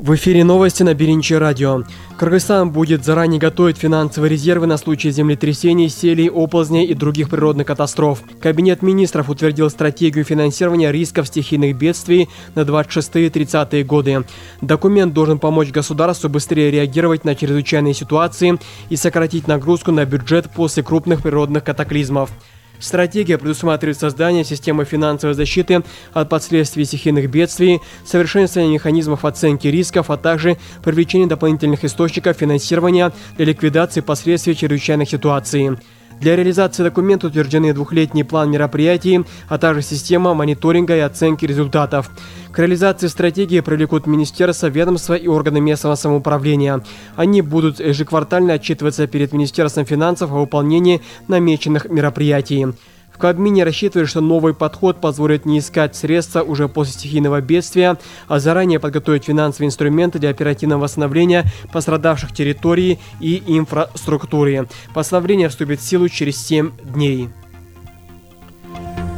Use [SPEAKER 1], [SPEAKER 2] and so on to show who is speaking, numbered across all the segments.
[SPEAKER 1] В эфире новости на Биринчи радио. Кыргызстан будет заранее готовить финансовые резервы на случай землетрясений, селей, оползней и других природных катастроф. Кабинет министров утвердил стратегию финансирования рисков стихийных бедствий на 26-30 годы. Документ должен помочь государству быстрее реагировать на чрезвычайные ситуации и сократить нагрузку на бюджет после крупных природных катаклизмов. Стратегия предусматривает создание системы финансовой защиты от последствий стихийных бедствий, совершенствование механизмов оценки рисков, а также привлечение дополнительных источников финансирования для ликвидации последствий чрезвычайных ситуаций. Для реализации документа утверждены двухлетний план мероприятий, а также система мониторинга и оценки результатов. К реализации стратегии привлекут министерства, ведомства и органы местного самоуправления. Они будут ежеквартально отчитываться перед Министерством финансов о выполнении намеченных мероприятий. В Кабмине рассчитывают, что новый подход позволит не искать средства уже после стихийного бедствия, а заранее подготовить финансовые инструменты для оперативного восстановления пострадавших территорий и инфраструктуры. Постановление вступит в силу через 7 дней.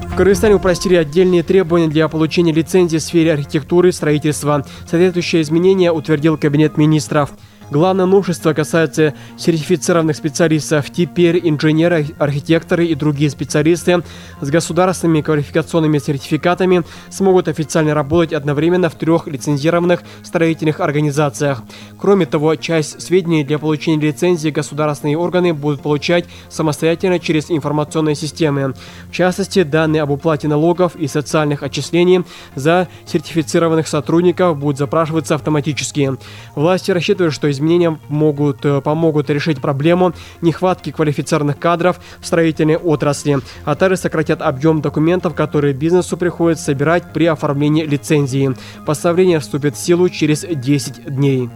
[SPEAKER 1] В Кыргызстане упростили отдельные требования для получения лицензии в сфере архитектуры и строительства. Соответствующее изменение утвердил Кабинет министров. Главное новшество касается сертифицированных специалистов. Теперь инженеры, архитекторы и другие специалисты с государственными квалификационными сертификатами смогут официально работать одновременно в 3 лицензированных строительных организациях. Кроме того, часть сведений для получения лицензии государственные органы будут получать самостоятельно через информационные системы. В частности, данные об уплате налогов и социальных отчислений за сертифицированных сотрудников будут запрашиваться автоматически. Власти рассчитывают, что изменения помогут решить проблему нехватки квалифицированных кадров в строительной отрасли, а также сократят объем документов, которые бизнесу приходится собирать при оформлении лицензии. Постановление вступит в силу через 10 дней.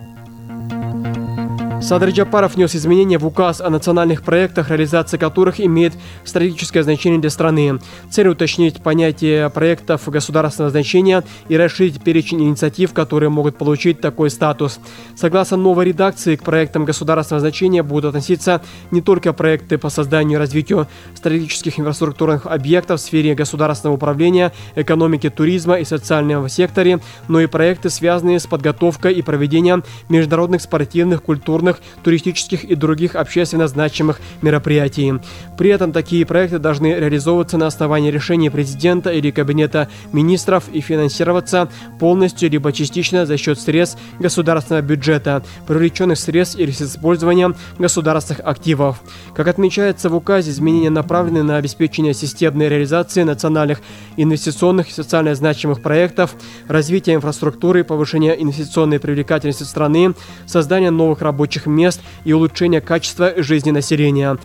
[SPEAKER 1] Садыр Джапаров внес изменения в указ о национальных проектах, реализация которых имеет стратегическое значение для страны. Цель уточнить понятие проектов государственного значения и расширить перечень инициатив, которые могут получить такой статус. Согласно новой редакции, к проектам государственного значения будут относиться не только проекты по созданию и развитию стратегических инфраструктурных объектов в сфере государственного управления, экономики, туризма и социального секторе, но и проекты, связанные с подготовкой и проведением международных спортивных, культурных, туристических и других общественно значимых мероприятий. При этом такие проекты должны реализовываться на основании решения президента или Кабинета министров и финансироваться полностью либо частично за счет средств государственного бюджета, привлеченных средств или с использованием государственных активов. Как отмечается в указе, изменения направлены на обеспечение системной реализации национальных инвестиционных и социально значимых проектов, развитие инфраструктуры, повышение инвестиционной привлекательности страны, создание новых рабочих мест и улучшение качества жизни населения.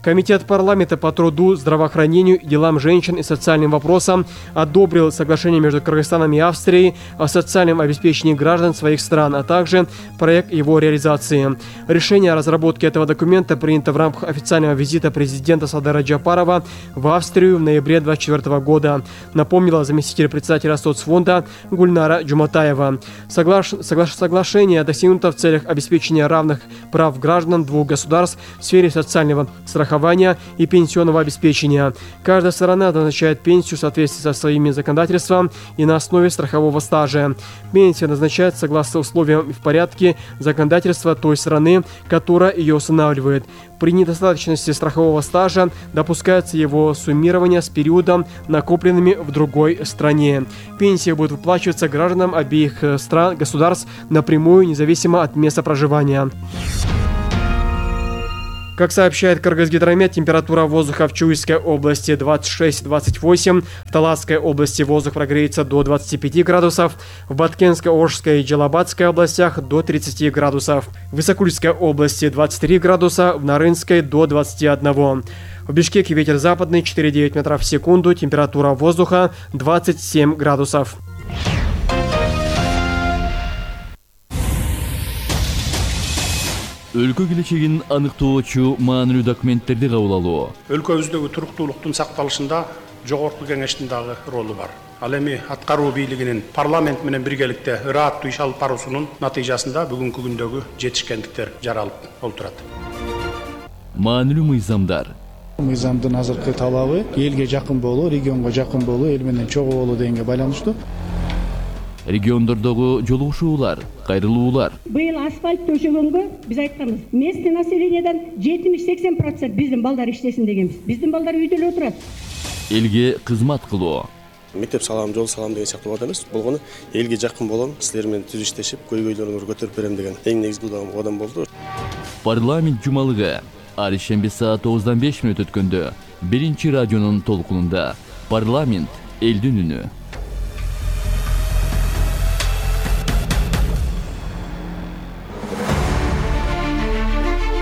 [SPEAKER 1] Комитет парламента по труду, здравоохранению, делам женщин и социальным вопросам одобрил соглашение между Кыргызстаном и Австрией о социальном обеспечении граждан своих стран, а также проект его реализации. Решение о разработке этого документа принято в рамках официального визита президента Садыра Джапарова в Австрию в ноябре 2024 года, напомнила заместитель председателя соцфонда Гульнара Джуматаева. Соглашение достигнуто в целях обеспечения равных прав граждан двух государств в сфере социального страхования и пенсионного обеспечения. Каждая сторона назначает пенсию в соответствии со своими законодательством и на основе страхового стажа. Пенсия назначается согласно условиям и в порядке законодательства той страны, которая ее устанавливает. При недостаточности страхового стажа допускается его суммирование с периодом, накопленными в другой стране. Пенсия будет выплачиваться гражданам обеих стран, государств напрямую, независимо от места проживания. Как сообщает Кыргызгидромет, температура воздуха в Чуйской области 26-28, в Таласской области воздух прогреется до 25 градусов, в Баткенской, Оржской и Джалабадской областях до 30 градусов, в Исакульской области 23 градуса, в Нарынской до 21. В Бишкеке ветер западный 4,9 метров в секунду, температура воздуха 27 градусов.
[SPEAKER 2] Өлкө келечегин аныктоочу маанилүү документтерди кабыл алуу.
[SPEAKER 3] Өлкөбүздөгү туруктуулуктун сакталышында жогорку кеңештин дагы ролу бар. Ал эми аткаруу бийлигинин парламент менен биргеликте ырааттуу иш алып баруусунун натыйжасында бүгүнкү күндөгү жетишкендиктер жаралып олтурат.
[SPEAKER 2] Маанилүү мыйзамдар.
[SPEAKER 4] Мыйзамдын азыркы талабы элге жакын болуу, регионго жакын болуу, эл менен чогуу болуу дегенге байланыштуу.
[SPEAKER 2] Региондордогу жолугушуулар, кайрылуулар.
[SPEAKER 4] Быйыл асфальт төшөгөнгө биз айтканбыз. Местный населениядан 70-80% биздин балдар иштесин дегенбиз. Биздин балдар үйдө эле отурат.
[SPEAKER 2] Элге кызмат кылуу.
[SPEAKER 5] Мектеп салам, жол салам деген сыяктуу бат эмес. Болгону элге жакын болом, силер менен түз иштешип, көйгөйлөрүңөрдү көтөрүп берем деген эң негизги кадам болду.
[SPEAKER 2] Парламент жумалыгы ар ишемби саат 9:05 өткөндө биринчи радионун толкунунда парламент элдин үнү.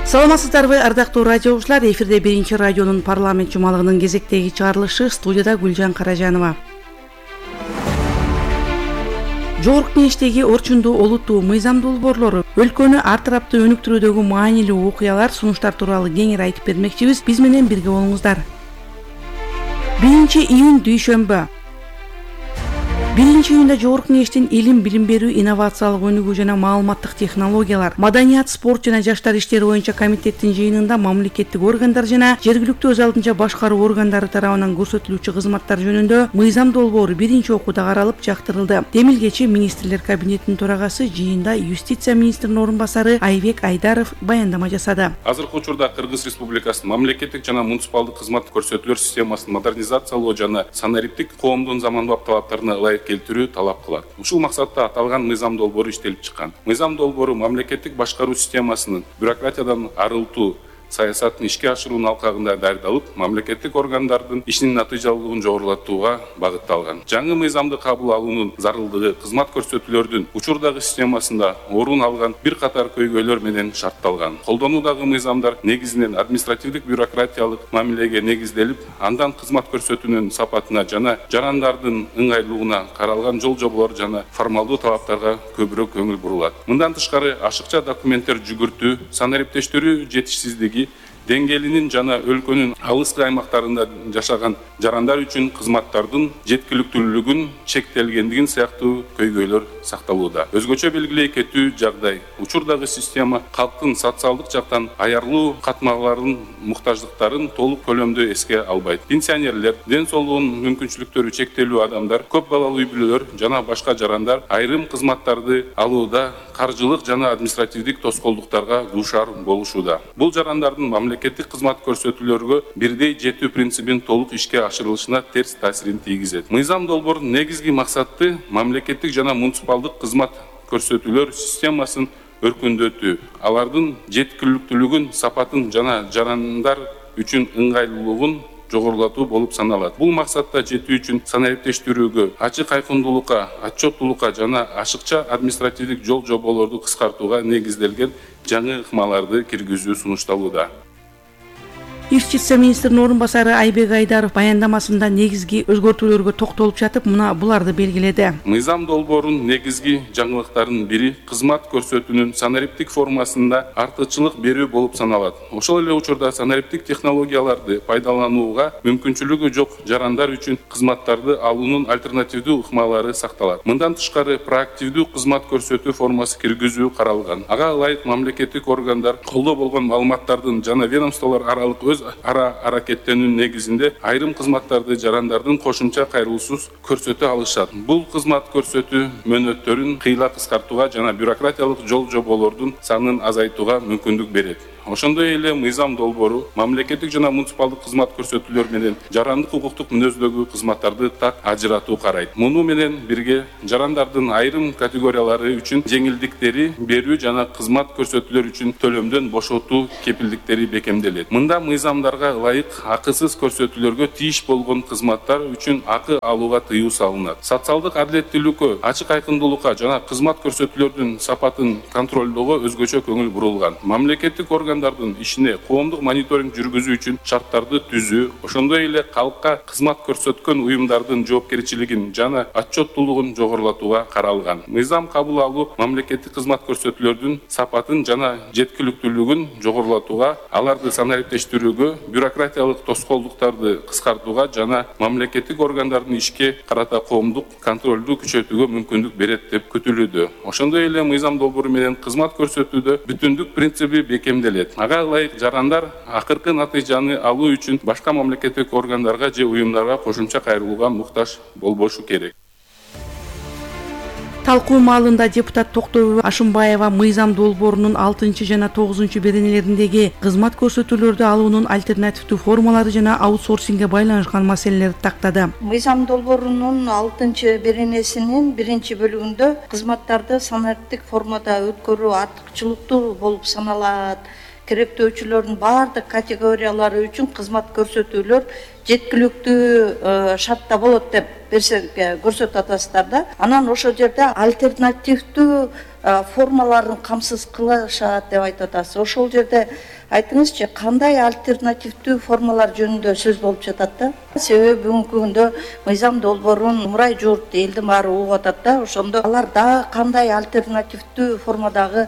[SPEAKER 6] Саламатсыздарбы, ардактуу радио угуучулар, эфирде биринчи радионун парламент жумалыгынын кезектеги чыгарылышы, студияда Гүлжан Каражанова. Жогорку Кеңештеги орчундуу олуттуу мыйзам долбоорлору өлкөнү ар тараптуу өнүктүрүүдөгү маанилүү окуялар, сунуштар тууралуу кеңири айтып бермекчибиз. Биз менен бирге болуңуздар. 1-июнь дүйшөмбү. 1-июнда Жогорку Кеңештин илим, билим берүү, инновациялык өнүгүү жана маалыматтык технологиялар, маданият, спорт жана жаштар иштери боюнча комитеттин жыйынында мамлекеттик органдар жана жергиликтүү өз алдынча башкаруу органдары тарабынан көрсөтүлүүчү кызматтар жөнүндө мыйзам долбоору биринчи окууда каралып жактырылды. Демилгечи министрлер кабинетинин төрагасы жыйында юстиция министринин орун басары Айбек Айдаров баяндама жасады.
[SPEAKER 7] Азыркы учурда Кыргыз Республикасынын мамлекеттик жана муниципалдык кызмат көрсөтүүлөр системасын модернизациялоо жана санариптик коомдун заманбап талаптарына ылайык келтирүү талап кылат. Ушул максатта аталган мыйзам долбоору иштелип чыккан. Мыйзам долбоору мамлекеттик башкаруу системасынын бюрократиядан арылтуу саясатын ишке ашыруунун алкагында даярдалып, мамлекеттик органдардын ишинин натыйжалуулугун жогорулатууга багытталган. Жаңы мыйзамды кабыл алуунун зарылдыгы кызмат көрсөтүүлөрдүн учурдагы системасында орун алган бир катар көйгөйлөр менен шартталган. Колдонуудагы мыйзамдар негизинен административдик бюрократиялык мамилеге негизделип, андан кызмат көрсөтүүнүн сапатына жана жарандардын ыңгайлуулугуна каралган жол жоболор жана формалдуу талаптарга көбүрөөк көңүл бурулат. Мындан тышкары ашыкча документтер жүгүртүү, санариптештирүү жетишсиздиги деңгээлинин жана өлкөнүн алыскы аймактарында жашаган жарандар үчүн кызматтардын жеткиликтүүлүгүн чектелгендигин сыяктуу көйгөйлөр сакталууда. Өзгөчө белгилей кетүү жагдай учурдагы система калктын социалдык жактан аярлуу катмаларын, муктаждыктарын толук көлөмдө эске албайт. Пенсионерлер, ден соолугунун мүмкүнчүлүктөрү чектелүү адамдар, көп балалуу үй-бүлөлөр жана башка жарандар айрым кызматтарды алууда каржылык жана административдик тоскоолдуктарга дуушар болушууда. Бул жарандардын мамлекеттик кызмат көрсөтүүлөргө бирдей жетүү принцибин толук ишке ашырылышына терс таасирин тийгизет. Мыйзам долбоорунун негизги максаты мамлекеттик жана муниципалдык кызмат көрсөтүүлөр системасын өркүндөтүү, алардын жеткиликтүүлүгүн, сапатын жана жарандар үчүн ыңгайлуулугун жогорулатуу болуп саналат. Бул максатта жетүү үчүн санариптештирүүгө, ачык айкындуулукка, отчеттуулукка жана ашыкча административдик жол жоболорду кыскартууга негизделген жаңы ыкмаларды киргизүү сунушталууда.
[SPEAKER 6] Юстиция министринин орун басары Айбек Айдаров баяндамасында негизги өзгөртүүлөргө токтолуп жатып, мына буларды белгиледи.
[SPEAKER 7] Мыйзам долбоорунун негизги жаңылыктарынын бири кызмат көрсөтүүнүн санариптик формасында артыкчылык берүү болуп саналат. Ошол эле учурда санариптик технологияларды пайдаланууга мүмкүнчүлүгү жок жарандар үчүн кызматтарды алуунун альтернативдүү ыкмалары сакталат. Мындан тышкары проактивдүү кызмат көрсөтүү формасы киргизүү каралган. Ага ылайык мамлекеттик органдар колдо болгон маалыматтардын жана ведомстволор аралык өз ара аракеттенүүнүн негизинде айрым кызматтарды жарандардын кошумча кайрылуусуз көрсөтө алышат. Бул кызмат көрсөтүү мөөнөттөрүн кыйла кыскартууга жана бюрократиялык жол жоболордун санын азайтууга мүмкүндүк берет. Ошондой эле мыйзам долбоору мамлекеттик жана муниципалдык кызмат көрсөтүүлөр менен жарандык укуктук мүнөздөгү кызматтарды так ажыратуу карайт. Муну менен бирге жарандардын айрым категориялары үчүн жеңилдиктери берүү жана кызмат көрсөтүүлөр үчүн төлөмдөн бошотуу кепилдиктери бекемделет. Мында мыйзамдарга ылайык акысыз көрсөтүүлөргө тийиш болгон кызматтар үчүн акы алууга тыюу салынат. Социалдык адилеттүүлүккө, ачык айкындуулукка жана кызмат көрсөтүүлөрдүн сапатын контролдоого өзгөчө көңүл бурулган. Мамлекеттик органдардын ишине коомдук мониторинг жүргүзүү үчүн шарттарды түзүү, ошондой эле калкка кызмат көрсөткөн уюмдардын жоопкерчилигин жана отчеттуулугун жогорулатууга каралган. Мыйзам кабыл алуу мамлекеттик кызмат көрсөтүүлөрдүн сапатын жана жеткиликтүүлүгүн жогорулатууга, аларды санариптештирүүгө, бюрократиялык тоскоолдуктарды кыскартууга жана мамлекеттик органдардын ишке карата коомдук контролду күчөтүүгө мүмкүндүк берет деп күтүлүүдө. Ошондой эле мыйзам долбоору менен кызмат көрсөтүүдө бүтүндүк принциби бекемделет. Ага ылайык жарандар акыркы натыйжаны алуу үчүн башка мамлекеттик органдарга же уюмдарга кошумча кайрылууга муктаж болбошу керек.
[SPEAKER 6] Талкуу маалында депутат Токтогүл Ашымбаева мыйзам долбоорунун 6 жана 9 беренелериндеги кызмат көрсөтүүлөрдү алуунун альтернативдүү формалары жана аутсорсингге байланышкан маселелерди тактады.
[SPEAKER 8] Мыйзам долбоорунун 6 беренесинин 1-бөлүгүндө кызматтарды санариптик формада өткөрүү артыкчылыктуу болуп саналат. Керектөөчүлөрдүн баардык категориялары үчүн кызмат көрсөтүүлөр жеткиликтүү шартта болот деп көрсөтүп атасыздар да. Анан ошол жерде альтернативдүү формаларын камсыз кылышат деп айтып атасыз. Ошол жерде айтыңызчы, кандай альтернативдүү формалар жөнүндө сөз болуп жатат да? Себеби бүгүнкү күндө мыйзам долбоорун мурай журт элдин баары угуп атат да. Ошондо алар дагы кандай альтернативдүү формадагы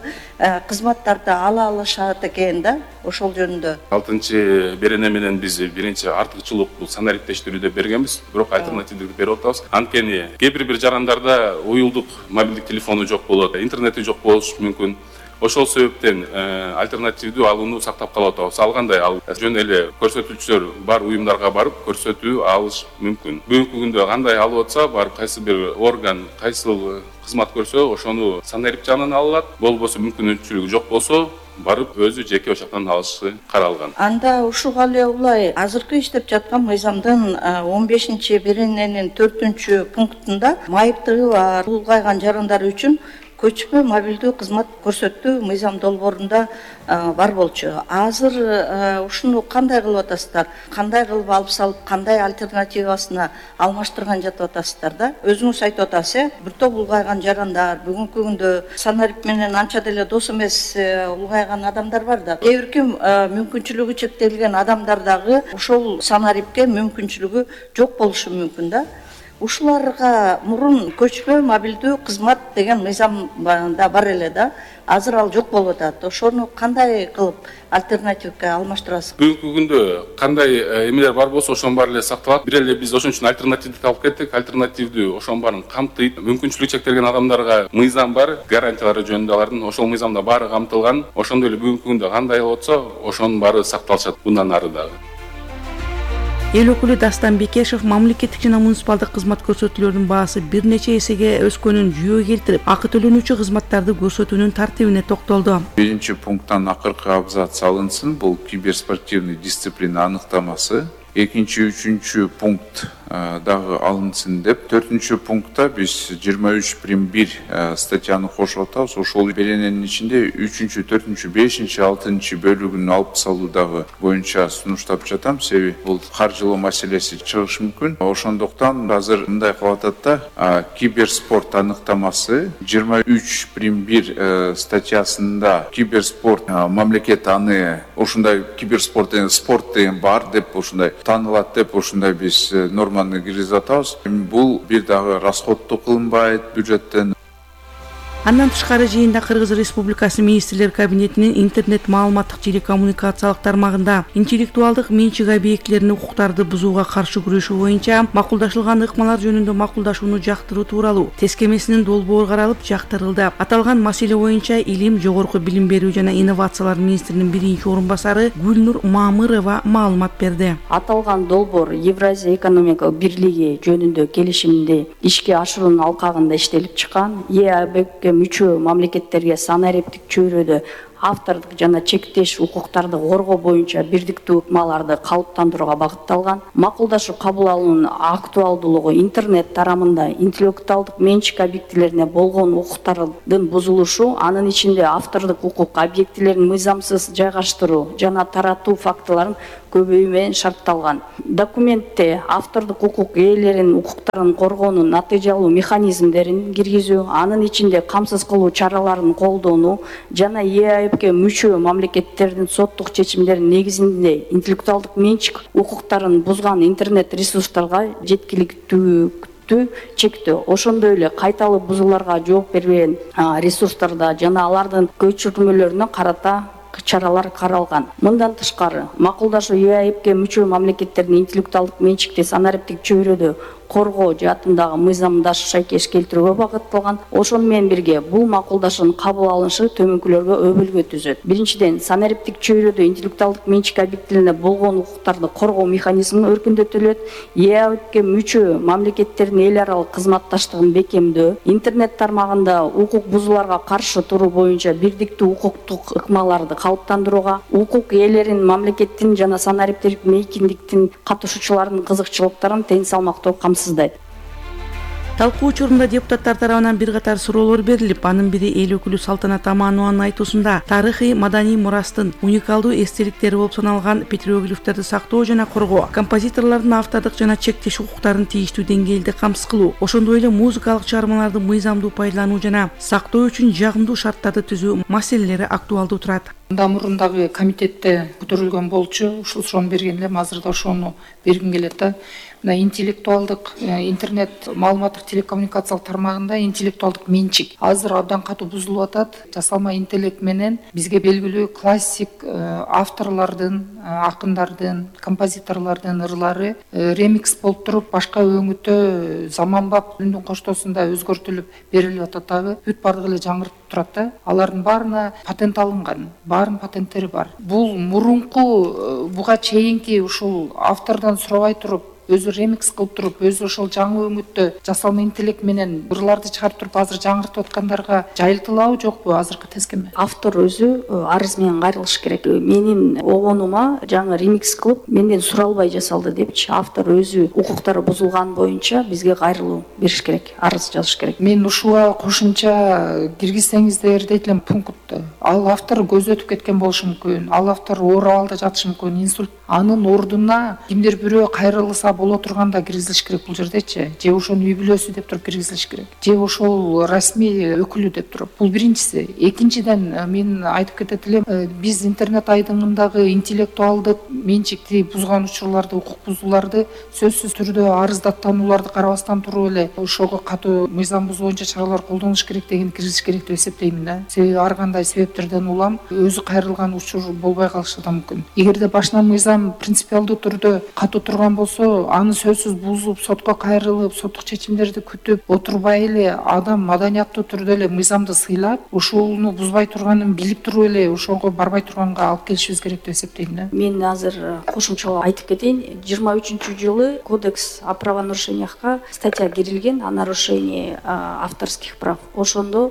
[SPEAKER 8] кызматтарды ала алышат экен да? Ошол жөнүндө.
[SPEAKER 7] 6 берене менен биз биринчи артыкчылык бул санариптештирүү деп бергенбиз, бирок альтернативдүү берип атабыз. Анткени кээ бир жарандарда уюлдук мобилдик телефону жок болот, интернети жок болушу мүмкүн. Ошол себептен альтернативдүү алууну сактап калып атабыз. Алгандай ал жөн эле көрсөтүүчүлөр бар уюмдарга барып көрсөтүү алыш мүмкүн. Бүгүнкү күндө кандай алып атса, барып кайсы бир орган кайсыл кызмат көрсө, ошону санарип жагынан алат. Болбосо мүмкүнчүлүгү жок болсо, барып өзү жеке ошактан алышы каралган.
[SPEAKER 8] Анда ушуга эле улай азыркы иштеп жаткан мыйзамдын 15 берененин 4-пунктунда майыптыгы бар улгайган жарандар үчүн көчмө мобилдүү кызмат көрсөтүү мыйзам долбоорунда бар болчу. Азыр ушуну кандай кылып атасыздар? Кандай кылып алып салып, кандай альтернативасына алмаштырган жатып атасыздар да? Өзүңүз айтып атасыз, бир топ улгайган жарандар бүгүнкү күндө санарип менен анча деле дос эмес улгайган адамдар бар да. Кээ бирки мүмкүнчүлүгү чектелген адамдар дагы ошол санарипке мүмкүнчүлүгү жок болушу мүмкүн да. Ушуларга мурун көчмө мобилдүү кызмат деген мыйзамда бар эле да. Азыр ал жок болуп атат. Ошону кандай кылып альтернативге алмаштырасыз?
[SPEAKER 7] Бүгүнкү күндө кандай эмелер бар болсо, ошонун баары эле сакталат. Бир эле биз ошон үчүн альтернативди алып кеттик. Альтернативдүү ошонун баарын камтыйт. Мүмкүнчүлүгү чектелген адамдарга мыйзам бар, гарантиялары жөнүндө алардын ошол мыйзамда баары камтылган. Ошондой эле бүгүнкү күндө кандай болуп атса, ошонун баары сакталышат мындан ары дагы.
[SPEAKER 6] Эл өкүлү Дастан Бекешев мамлекеттик жана муниципалдык кызмат көрсөтүүлөрдүн баасы бир нече эсеге өскөнүн жүйөгө келтирип, акы төлөнүүчү кызматтарды көрсөтүүнүн тартибине токтолду.
[SPEAKER 9] 1-пункттан акыркы абзац алынсын, бул киберспортивный дисциплина аныктамасы. 2-3 пункт дагы алынсын деп, 4-пунктта биз 23.1 статьяны кошуп атабыз. Ошол берененин ичинде 3, 4, 5, 6 бөлүгүн алып салуу дагы боюнча сунуштап жатам. Себеби бул каржылоо маселеси чыгышы мүмкүн. Ошондуктан азыр мындай кылып атат да, киберспорт аныктамасы 23.1 статьясында киберспорт мамлекет аны ушундай киберспорт деген спорт деген бар деп ушундай таанылат деп ушундай биз норманы киргизип атабыз. Бул бир дагы расходдуу кылынбайт бюджеттен.
[SPEAKER 6] Андан тышкары жыйында Кыргыз Республикасы Министрлер Кабинетинин интернет маалыматтык жили коммуникациялык тармагында интеллектуалдык менчик объектилеринин укуктарды бузууга каршы күрөшүү боюнча макулдашылган ыкмалар жөнүндө макулдашууну жактыруу тууралуу тескемесинин долбоору каралып жактырылды. Аталган маселе боюнча Илим, Жогорку билим берүү жана инновациялар министринин биринчи орун басары Гүлнур Мамырова маалымат берди.
[SPEAKER 10] Аталган долбоор Евразия экономикалык бирлиги жөнүндө келишимди ишке ашыруунун алкагында иштелип чыккан. ЕАБК мүчө мамлекеттерге санариптик чөйрөдө автордук жана чектеш укуктарды коргоо боюнча бирдиктүү ыкмаларды калыптандырууга багытталган. Макулдашуу кабыл алуунун актуалдуулугу интернет тарамында интеллектуалдык менчик объектилерине болгон укуктардын бузулушу, анын ичинде автордук укук объектилерин мыйзамсыз жайгаштыруу жана таратуу фактыларын көбөйүү менен шартталган. Документте автордук укук ээлеринин укуктарын коргоонун натыйжалуу механизмдерин киргизүү, анын ичинде камсыз кылуу чараларын колдонуу жана ЕАЭБК мүчө мамлекеттердин соттук чечимдеринин негизинде интеллектуалдык менчик укуктарын бузган интернет ресурстарга жеткиликтүүлүктү чектөө. Ошондой эле кайталуу бузууларга жооп бербеген ресурстарда жана алардын көчүрмөлөрүнө карата чаралар каралган. Мындан тышкары макулдашуу ЕАЭБК мүчө мамлекеттердин интеллектуалдык менчикти санариптик чөйрөдө коргоо жаатындагы мыйзамдаш шайкеш келтирүүгө багытталган. Ошону менен бирге бул макулдашуунун кабыл алынышы төмөнкүлөргө өбөлгө түзөт. Биринчиден, санариптик чөйрөдө интеллектуалдык менчик объектилерине болгон укуктарды коргоо механизми өркүндөтүлөт. ЕАБК мүчө мамлекеттердин эл аралык кызматташтыгын бекемдөө, интернет тармагында укук бузууларга каршы туруу боюнча бирдиктүү укуктук ыкмаларды калыптандырууга, укук ээлерин, мамлекеттин жана санариптик мейкиндиктин катышуучуларынын кызыкчылыктарын тең салмактоо камсыздайт.
[SPEAKER 6] Талкуу учурунда депутаттар тарабынан бир катар суроолор берилип, анын бири эл өкүлү Салтанат Аманованын айтуусунда тарыхый маданий мурастын уникалдуу эстеликтери болуп саналган петроглифтерди сактоо жана коргоо, композиторлордун автордук жана чектеш укуктарын тийиштүү деңгээлде камсыз кылуу, ошондой эле музыкалык чыгармаларды мыйзамдуу пайдалануу жана сактоо үчүн жагымдуу шарттарды түзүү маселелери актуалдуу турат.
[SPEAKER 11] Мурун дагы комитетте көтөрүлгөн болчу, ошону берген элем, азыр да ошону бергим келет да. Мына интеллектуалдык интернет маалыматтык телекоммуникациялык тармагында интеллектуалдык менчик азыр абдан катуу бузулуп атат. Жасалма интеллект менен бизге белгилүү классик авторлордун, акындардын, композиторлордун ырлары ремикс болуп туруп, башка өңүттө заманбап үндүн коштоосунда өзгөртүлүп берилип атат дагы. Бүт бардыгы эле жаңыртып турат да. Алардын баарына патент алынган, баарынын патенттери бар. Бул мурунку буга чейинки ушул автордон сурабай туруп, өзү ремикс кылып туруп, өзү ошол жаңы өңүттө жасалма интеллект менен ырларды чыгарып туруп азыр жаңыртып аткандарга жайылтылабы жокпу азыркы тескеме?
[SPEAKER 10] Автор өзү арыз менен кайрылыш керек. Менин обонума жаңы ремикс кылып, менден суралбай жасалды депчи, автор өзү укуктары бузулган боюнча бизге кайрылуу бериш керек, арыз жазыш керек.
[SPEAKER 11] Мен ушуга кошумча киргизсеңиздер дейт элем пунктты. Ал автор көзөтүп кеткен болушу мүмкүн, ал автор оор абалда жатышы мүмкүн, инсульт. Анын ордуна кимдир бирөө кайрылса боло турганда киргизилиш керек бул жердечи. Же ошонун үй бүлөсү деп туруп киргизилиш керек. Же ошол расмий өкүлү деп туруп. Бул биринчиси. Экинчиден мен айтып кетет элем, биз интернет айдыңындагы интеллектуалдык менчикти бузган учурларды, укук бузууларды сөзсүз түрдө арыздаттанууларды карабастан туруп эле ошого катуу мыйзам бузуу боюнча чаралар колдонуш керек деген киргизиш керек деп эсептеймин да. Себеби ар кандай себептерден улам өзү кайрылган учур болбой калышы да мүмкүн. Эгерде башынан мыйзам принципиалдуу түрдө катуу турган болсо, аны сөзсүз бузуп, сотко кайрылып, соттук чечимдерди күтүп отурбай эле адам маданияттуу түрдө эле мыйзамды сыйлап, ушуну бузбай турганын билип туруп эле ошого барбай турганга алып келишибиз керек деп эсептейм да.
[SPEAKER 10] Мен азыр кошумчалап айтып кетейин. 23-жылы Кодекс о правонарушениях статья кирилген о нарушении авторских прав. Ошондо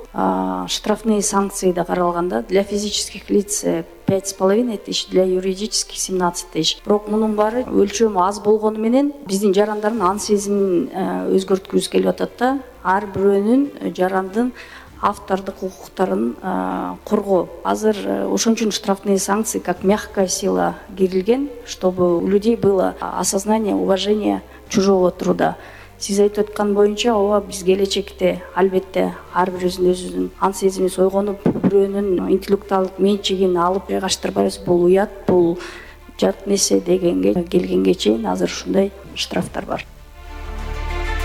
[SPEAKER 10] штрафные санкции да каралганда для физических лиц 5,5 тысяч, для юридических 17 тысяч. Бирок мунун баары өлчөмү аз болгону менен биздин жарандардын ан сезимин өзгөрткүбүз келип атат да. Ар бирөөнүн жарандын автордук укуктарын коргоо. Азыр ошон үчүн штрафные санкции как мягкая сила кирилген, чтобы у людей было осознание, уважение чужого труда. Сиз айтып аткан боюнча, ооба биз келечекте албетте ар бирибиздин өзүбүздүн ан сезими сойгонуп, бирөөнүн интеллектуалдык менчигин алып жайгаштырбайбыз. Бул уят, бул жат нерсе дегенге келгенге чейин азыр ушундай штрафтар бар.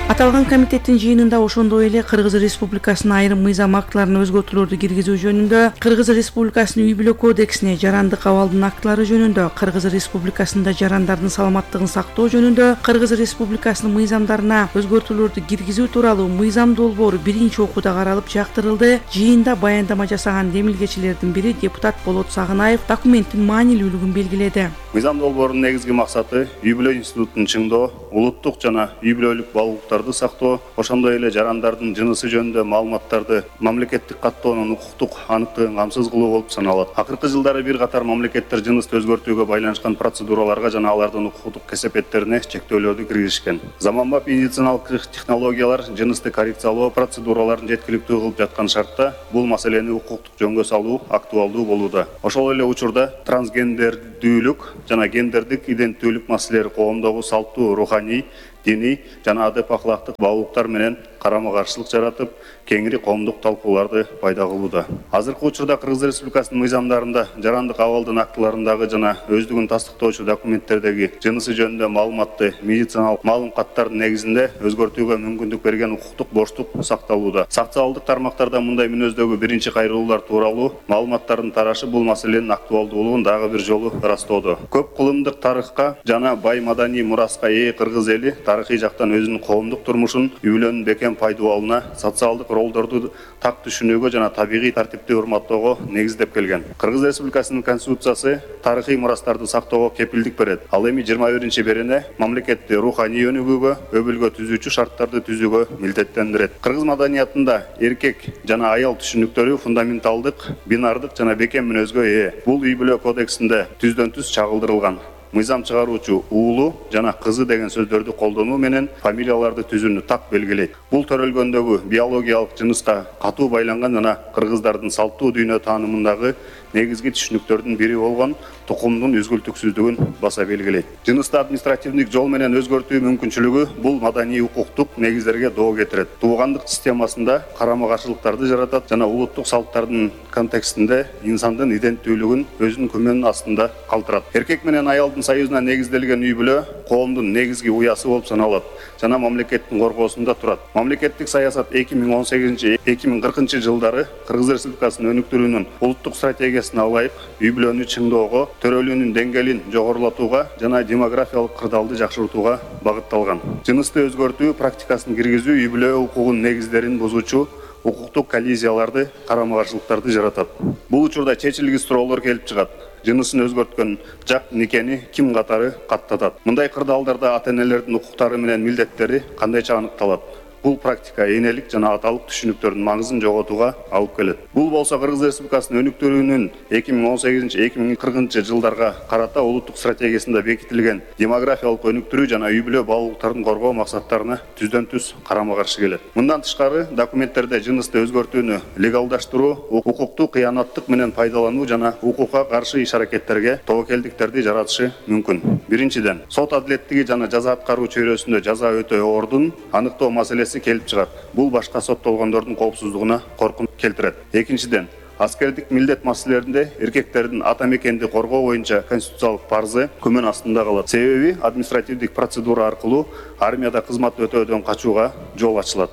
[SPEAKER 6] Аталган комитеттин жыйынында ошондой эле Кыргыз Республикасынын айрым мыйзам актыларына өзгөртүүлөрдү киргизүү жөнүндө, Кыргыз Республикасынын үй бүлө кодексине, жарандык абалдын актылары жөнүндө, Кыргыз Республикасында жарандардын саламаттыгын сактоо жөнүндө, Кыргыз Республикасынын мыйзамдарына өзгөртүүлөрдү киргизүү тууралуу мыйзам долбоору биринчи окууда каралып жактырылды. Жыйында баяндама жасаган демилгечилердин бири депутат Болот Сагынаев документтин маанилүүлүгүн белгиледи.
[SPEAKER 12] Мыйзам долбоорунун негизги максаты үй бүлө институтун чыңдоо, улуттук жана үй бүлөлүк баалуулуктарды сактоо, ошондой эле жарандардын жынысы жөнүндө маалыматтарды мамлекеттик каттоонун укуктук аныктыгын камсыз кылуу болуп саналат. Акыркы жылдары бир катар мамлекеттер жынысты өзгөртүүгө байланышкан процедураларга жана алардын укуктук кесепеттерине чектөөлөрдү киргизишкен. Заманбап медициналык технологиялар жынысты коррекциялоо процедураларын жеткиликтүү кылып жаткан шартта бул маселени укуктук жөнгө салуу актуалдуу болууда. Ошол эле учурда трансгендердүүлүк жана гендердик иденттүүлүк маселелери коомдогу салттуу, руханий, диний жана адеп акылактык баалуулуктар менен карама каршылык жаратып, кеңири коомдук талкууларды пайда кылууда. Азыркы учурда Кыргыз Республикасынын мыйзамдарында жарандык абалдын актыларындагы жана өздүгүн тастыктоочу документтердеги жынысы жөнүндө маалыматты медициналык маалым каттардын негизинде өзгөртүүгө мүмкүндүк берген укуктук боштук сакталууда. Социалдык тармактарда мындай мүнөздөгү биринчи кайрылуулар тууралуу маалыматтардын тарашы бул маселенин актуалдуулугун дагы бир жолу ырастоодо. Көп кылымдык тарыхка жана бай маданий мураска ээ Кыргыз эли тарыхый жактан өзүнүн коомдук турмушун, үй бүлөнүн бекем пайдаланууна, социалдык ролдорду так түшүнүүгө жана табигый тартипти урматтоого негиздеп келген. Кыргыз Республикасынын Конституциясы тарыхый мурастарды сактоого кепилдик берет. Ал эми 21-берене мамлекетти руханий өнүгүүгө, өбүлгө түзүүчү шарттарды түзүүгө милдеттендирет. Кыргыз маданиятында эркек жана аял түшүнүктөрү фундаменталдык, бинардык жана бекем мүнөзгө ээ. Бул үй бүлө кодексинде түздөн-түз чагылдырылган. Мыйзам чыгаруучу уулу жана кызы деген сөздөрдү колдонуу менен фамилияларды түзүүнү так белгилейт. Бул төрөлгөндөгү биологиялык жыныска катуу байланган жана кыргыздардын салттуу дүйнө таанымындагы негизги түшүнүктөрдүн бири болгон тукумдун үзгүлтүксүздүгүн баса белгилейт. Жынысты административдик жол менен өзгөртүү мүмкүнчүлүгү бул маданий укуктук негиздерге доо кетирет. Туугандык системасында карама-каршылыктарды жаратат жана улуттук салттардын контекстинде инсандын иденттүүлүгүн өзүнүн күмөнүнүн астында калтырат. Эркек менен аялдын союзуна негизделген үй бүлө коомдун негизги уясы болуп саналат жана мамлекеттин коргоосунда турат. Мамлекеттик саясат 2018-2040 жылдары Кыргыз Республикасынын өнүктүрүүнүн улуттук стратегиясына ылайык үй бүлөнү чыңдоого, төрөлүүнүн деңгээлин жогорулатууга жана демографиялык кырдаалды жакшыртууга багытталган. Жынысты өзгөртүү практикасын киргизүү үй бүлө укугунун негиздерин бузуучу укуктук коллизияларды, карама-каршылыктарды жаратат. Бул учурда чечилгис суроолор келип чыгат. Жынысын өзгөрткөн жак никени ким катары каттатат? Мындай кырдаалдарда ата-энелердин укуктары менен милдеттери кандайча аныкталат? Бул практика энелик жана аталык түшүнүктөрдүн маңызын жоготууга алып келет. Бул болсо Кыргыз Республикасынын өнүктүрүүнүн 2018-2040 жылдарга карата улуттук стратегиясында бекитилген демографиялык өнүктүрүү жана үй бүлө балалыктарын коргоо максаттарына түздөн-түз карама-каршы келет. Мындан тышкары документтерде жынысты өзгөртүүнү легалдаштыруу, укуктук кыянаттык менен пайдалануу жана укукка каршы иш-аракеттерге тобокелдиктерди жаратышы мүмкүн. Биринчиден, сот адилеттиги жана жаза аткаруу чөйрөсүндө жаза өтөө ордун аныктоо маселеси келип чыгат. Бул башка соттолгондордун коопсуздугуна коркунуч келтирет. Экинчиден, аскердик милдет маселелеринде эркектердин ата мекенди коргоо боюнча конституциялык парзы күмөн астында калат. Себеби административдик процедура аркылуу армияда кызмат өтөөдөн качууга жол ачылат.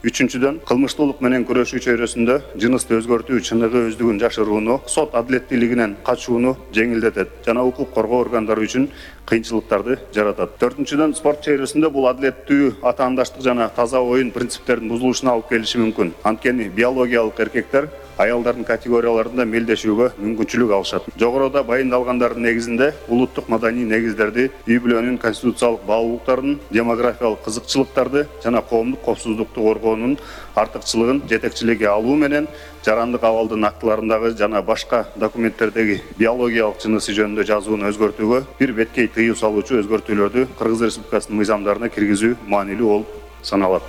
[SPEAKER 12] Үчүнчүдөн, кылмыштуулук менен күрөшүү чөйрөсүндө жынысты өзгөртүү чыныгы өздүгүн жашырууну, сот адилеттүүлүгүнөн качууну жеңилдетет жана укук коргоо органдары үчүн кыйынчылыктарды жаратат. Төртүнчүдөн, спорт чөйрөсүндө бул адилеттүү атаандаштык жана таза оюн принциптеринин бузулушуна алып келиши мүмкүн. Анткени биологиялык эркектер аялдардын категорияларында мелдешүүгө мүмкүнчүлүк алышат. Жогоруда баяндалгандардын негизинде улуттук маданий негиздерди, үй бүлөнүн конституциялык баалуулуктарын, демографиялык кызыкчылыктарды жана коомдук коопсуздукту коргоонун артыкчылыгын жетекчиликке алуу менен жарандык абалдын актыларындагы жана башка документтердеги биологиялык жынысы жөнүндө жазууну өзгөртүүгө бир беткей тыюу салуучу өзгөртүүлөрдү Кыргыз Республикасынын мыйзамдарына киргизүү маанилүү болуп саналат.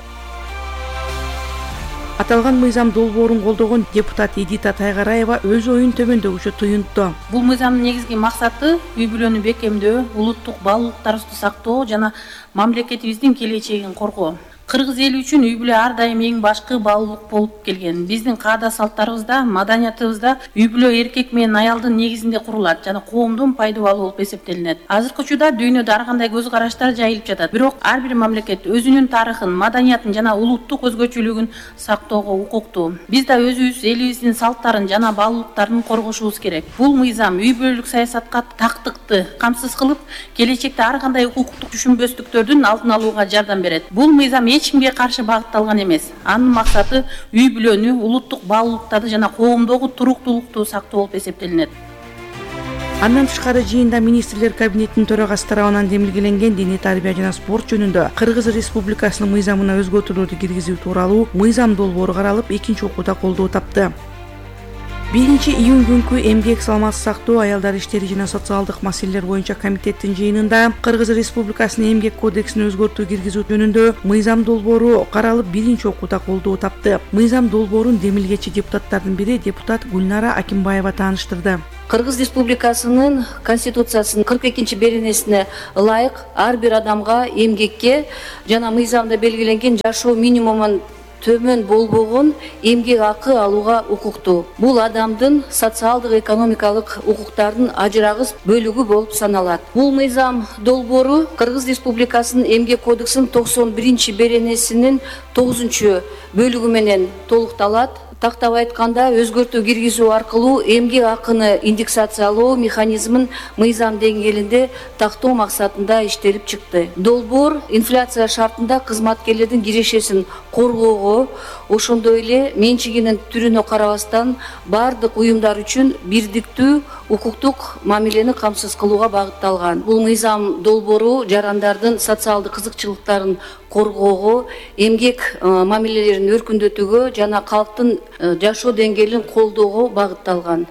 [SPEAKER 6] Аталган мыйзам долбоорун колдогон депутат Эдита Тайгараева өз оюн төмөндөгүчө туюнтту.
[SPEAKER 13] Бул мыйзамдын негизги максаты үй бүлөнү бекемдөө, улуттук баалуулуктарыбызды сактоо жана мамлекетибиздин келечегин коргоо. Кыргыз эли үчүн үй бүлө ар дайым эң башкы баалуулук болуп келген. Биздин каада салттарыбызда, маданиятыбызда үй бүлө эркек менен аялдын негизинде курулат жана коомдун пайдабалы болуп эсептелинет. Азыркы учурда дүйнөдө ар кандай көз караштар жайылып жатат. Бирок ар бир мамлекет өзүнүн тарыхын, маданиятын жана улуттук өзгөчөлүгүн сактоого укуктуу. Биз да өзүбүз элибиздин салттарын жана баалуулуктарын коргошубуз керек. Бул мыйзам үй бүлөлүк саясатка тактыкты камсыз кылып, келечекте ар кандай укуктук түшүнбөстүктөрдүн алдын алууга жардам берет. Бул мыйзам эч кимге каршы багытталган эмес. Анын максаты үй бүлөнү, улуттук баалуулуктарды жана коомдогу туруктуулукту сактоо болуп эсептелинет.
[SPEAKER 6] Андан тышкары жыйында министрлер кабинетинин төрагасы тарабынан демилгеленген дене тарбия жана спорт жөнүндө Кыргыз Республикасынын мыйзамына өзгөртүүлөрдү киргизүү тууралуу мыйзам долбоору каралып, экинчи окууда колдоо тапты. 1-июнь күнкү эмгек саламатты сактоо, аялдар иштери жана социалдык маселелер боюнча комитеттин жыйынында Кыргыз Республикасынын эмгек кодексине өзгөртүү киргизүү жөнүндө мыйзам долбоору каралып, 1-инчи окууда колдоо тапты. Мыйзам долбоорун демилгечи депутаттардын бири депутат Гүлнара Акимбаева тааныштырды.
[SPEAKER 14] Кыргыз Республикасынын Конституциясынын 42-чи беренесине ылайык ар бир адамга эмгекке жана мыйзамда белгиленген жашоо минимумун төмөн болбогон эмгек акы алууга укуктуу. Бул адамдын социалдык экономикалык укуктарынын ажырагыс бөлүгү болуп саналат. Бул мыйзам долбоору Кыргыз Республикасынын эмгек кодексинин 91-чи беренесинин 9-бөлүгү менен толукталат тактап айтканда өзгөртүү киргизүү аркылуу эмгек акыны индексациялоо механизмин мыйзам деңгээлинде тактоо максатында иштелип чыкты. Долбоор инфляция шартында кызматкерлердин кирешесин коргоого, ошондой эле менчигинин түрүнө карабастан бардык уюмдар үчүн бирдиктүү укуктук мамилени камсыз кылууга багытталган. Бул мыйзам долбоору жарандардын социалдык кызыкчылыктарын коргоого, эмгек мамилелерин өркүндөтүүгө жана калктын жашоо деңгээлин колдоого багытталган.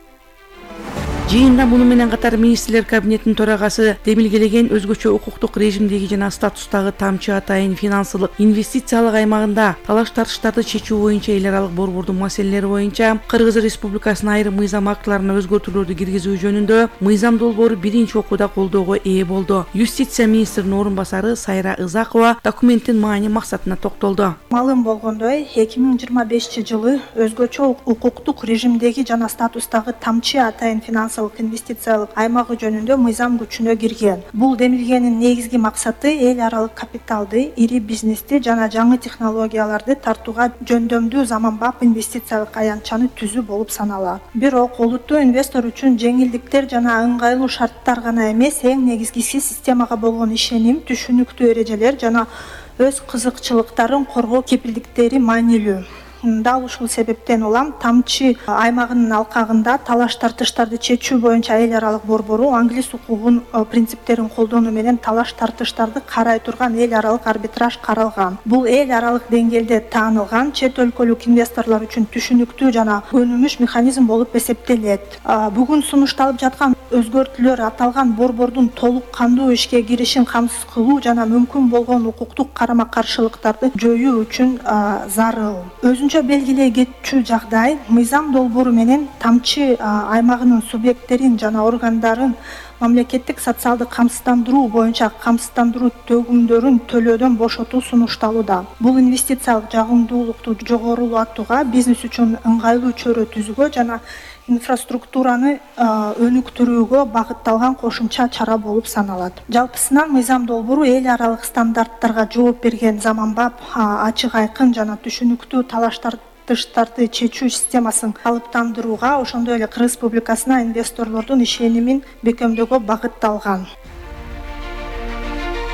[SPEAKER 6] Жыйында муну менен катар министрлер кабинетинин төрагасы демилгелеген өзгөчө укуктук режимдеги жана статустагы тамчы атайын финансылык инвестициялык аймагында талаш тартыштарды чечүү боюнча эл аралык борбордун маселелери боюнча Кыргыз Республикасынын айрым мыйзам актыларына өзгөртүүлөрдү киргизүү жөнүндө мыйзам долбоору биринчи окууда колдоого ээ болду. Юстиция министринин орун басары Сайра Ызакова документтин маани максатына токтолду.
[SPEAKER 15] Малым болгондой 2025-жылы өзгөчө укуктук режимдеги жана статустагы тамчы атайын финансылык инвестициялык аймагы жөнүндө мыйзам күчүнө кирген. Бул демилгенин негизги максаты эл аралык капиталды, ири бизнести жана жаңы технологияларды тартууга жөндөмдүү заманбап инвестициялык аянтчаны түзүү болуп саналат. Бирок олуттуу инвестор үчүн жеңилдиктер жана ыңгайлуу шарттар гана эмес, эң негизгиси системага болгон ишеним, түшүнүктүү эрежелер жана өз кызыкчылыктарын коргоо кепилдиктери маанилүү. Дал ушул себептен улам тамчы аймагынын алкагында талаш тартыштарды чечүү боюнча эл аралык борбору англис укугунун принциптерин колдонуу менен талаш тартыштарды карай турган эл аралык арбитраж каралган. Бул эл аралык деңгээлде таанылган чет өлкөлүк инвесторлор үчүн түшүнүктүү жана өнүмүш механизм болуп эсептелет. Бүгүн сунушталып жаткан өзгөртүүлөр аталган борбордун толук кандуу ишке киришин камсыз кылуу жана мүмкүн болгон укуктук карама каршылыктарды жоюу үчүн зарыл. Белгилей кетчү жагдай мыйзам долбоору менен тамчы аймагынын субъекттерин жана органдарын мамлекеттик социалдык камсыздандыруу боюнча камсыздандыруу төгүмдөрүн төлөөдөн бошотуу сунушталууда. Бул инвестициялык жагымдуулукту жогорулатууга, бизнес үчүн ыңгайлуу чөйрө түзүүгө жана инфраструктураны өнүктүрүүгө багытталган кошумча чара болуп саналат. Жалпысынан мыйзам долбоору эл аралык стандарттарга жооп берген заманбап, ачык айкын жана түшүнүктүү талаш тартыштарды чечүү системасын калыптандырууга, ошондой эле Кыргыз Республикасына инвесторлордун ишенимин бекемдөөгө багытталган.